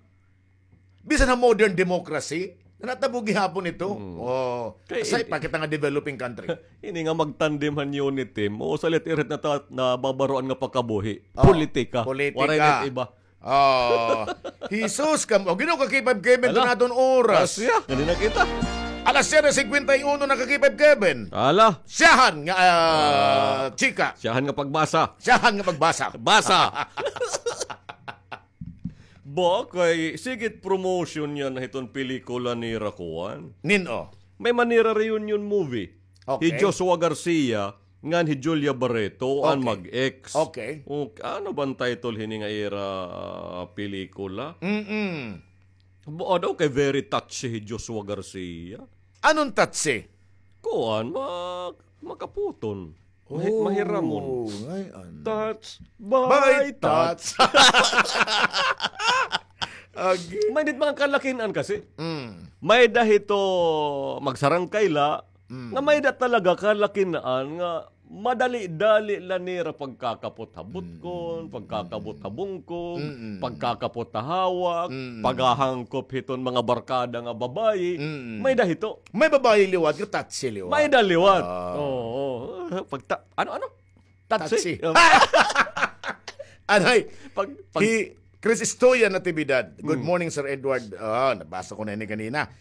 Bisan ha modern democracy, natabo gihapon ito. Hmm. Oh, kay aside pa kita nga developing country. Ini nga magtandem han UNITIM, o sa lit-irit na ta-, nababaroan nga pakabuhi. Oh, politika. Politika. Waray na iba. Oh, Jesus, kam-, o, Ginoo ka K five Kevin, ito na aton oras. Alas siya, ganina kita. Alas siyete singkwenta y uno na ka K five Kevin. Ala. Siyahan nga, ah, chika. Siyahan nga pagbasa. Siyahan nga pagbasa. Basa. Ba, kay sigit promotion yana hiton pelikula nira kuan. Nin-o? May man nira reunion movie. Okay. Hi Joshua Garcia, Ngan hi Julia Barreto, an Okay. mag-ex. Okay. O, ano ba an title hini nga ira, ah, pelikula? Mm-mm. Ba, daw kay very touchy hi Joshua Garcia. Anong touchy? Kuan, ma-, makaputon. Mahi-, Oh, mahiramon. Ngay-an. Touch by By touch. Touch. Agi. May dit mga kalakin-an kasi. Mm. May da hito magsarangkay la, Mm. nga may da talaga kalakin-an nga madali-dali la nira pagkakapot ha butkon, Mm. pagkakapot ha bungkog, Mm. pagkakapot ha hawak, Mm. paghahangkop hiton mga barkada nga babayi. Mm. May da hito. May babayi liwat, nga touchy liwat. May da liwat. Ah. Oo. Pagta-, ano, ano? Touchy. Touchy. Um, Anay, pag, pag hi Chris Estoya Natividad. Good Mm. morning, Sir Edward. Ah, nabasa ko na ini kanina.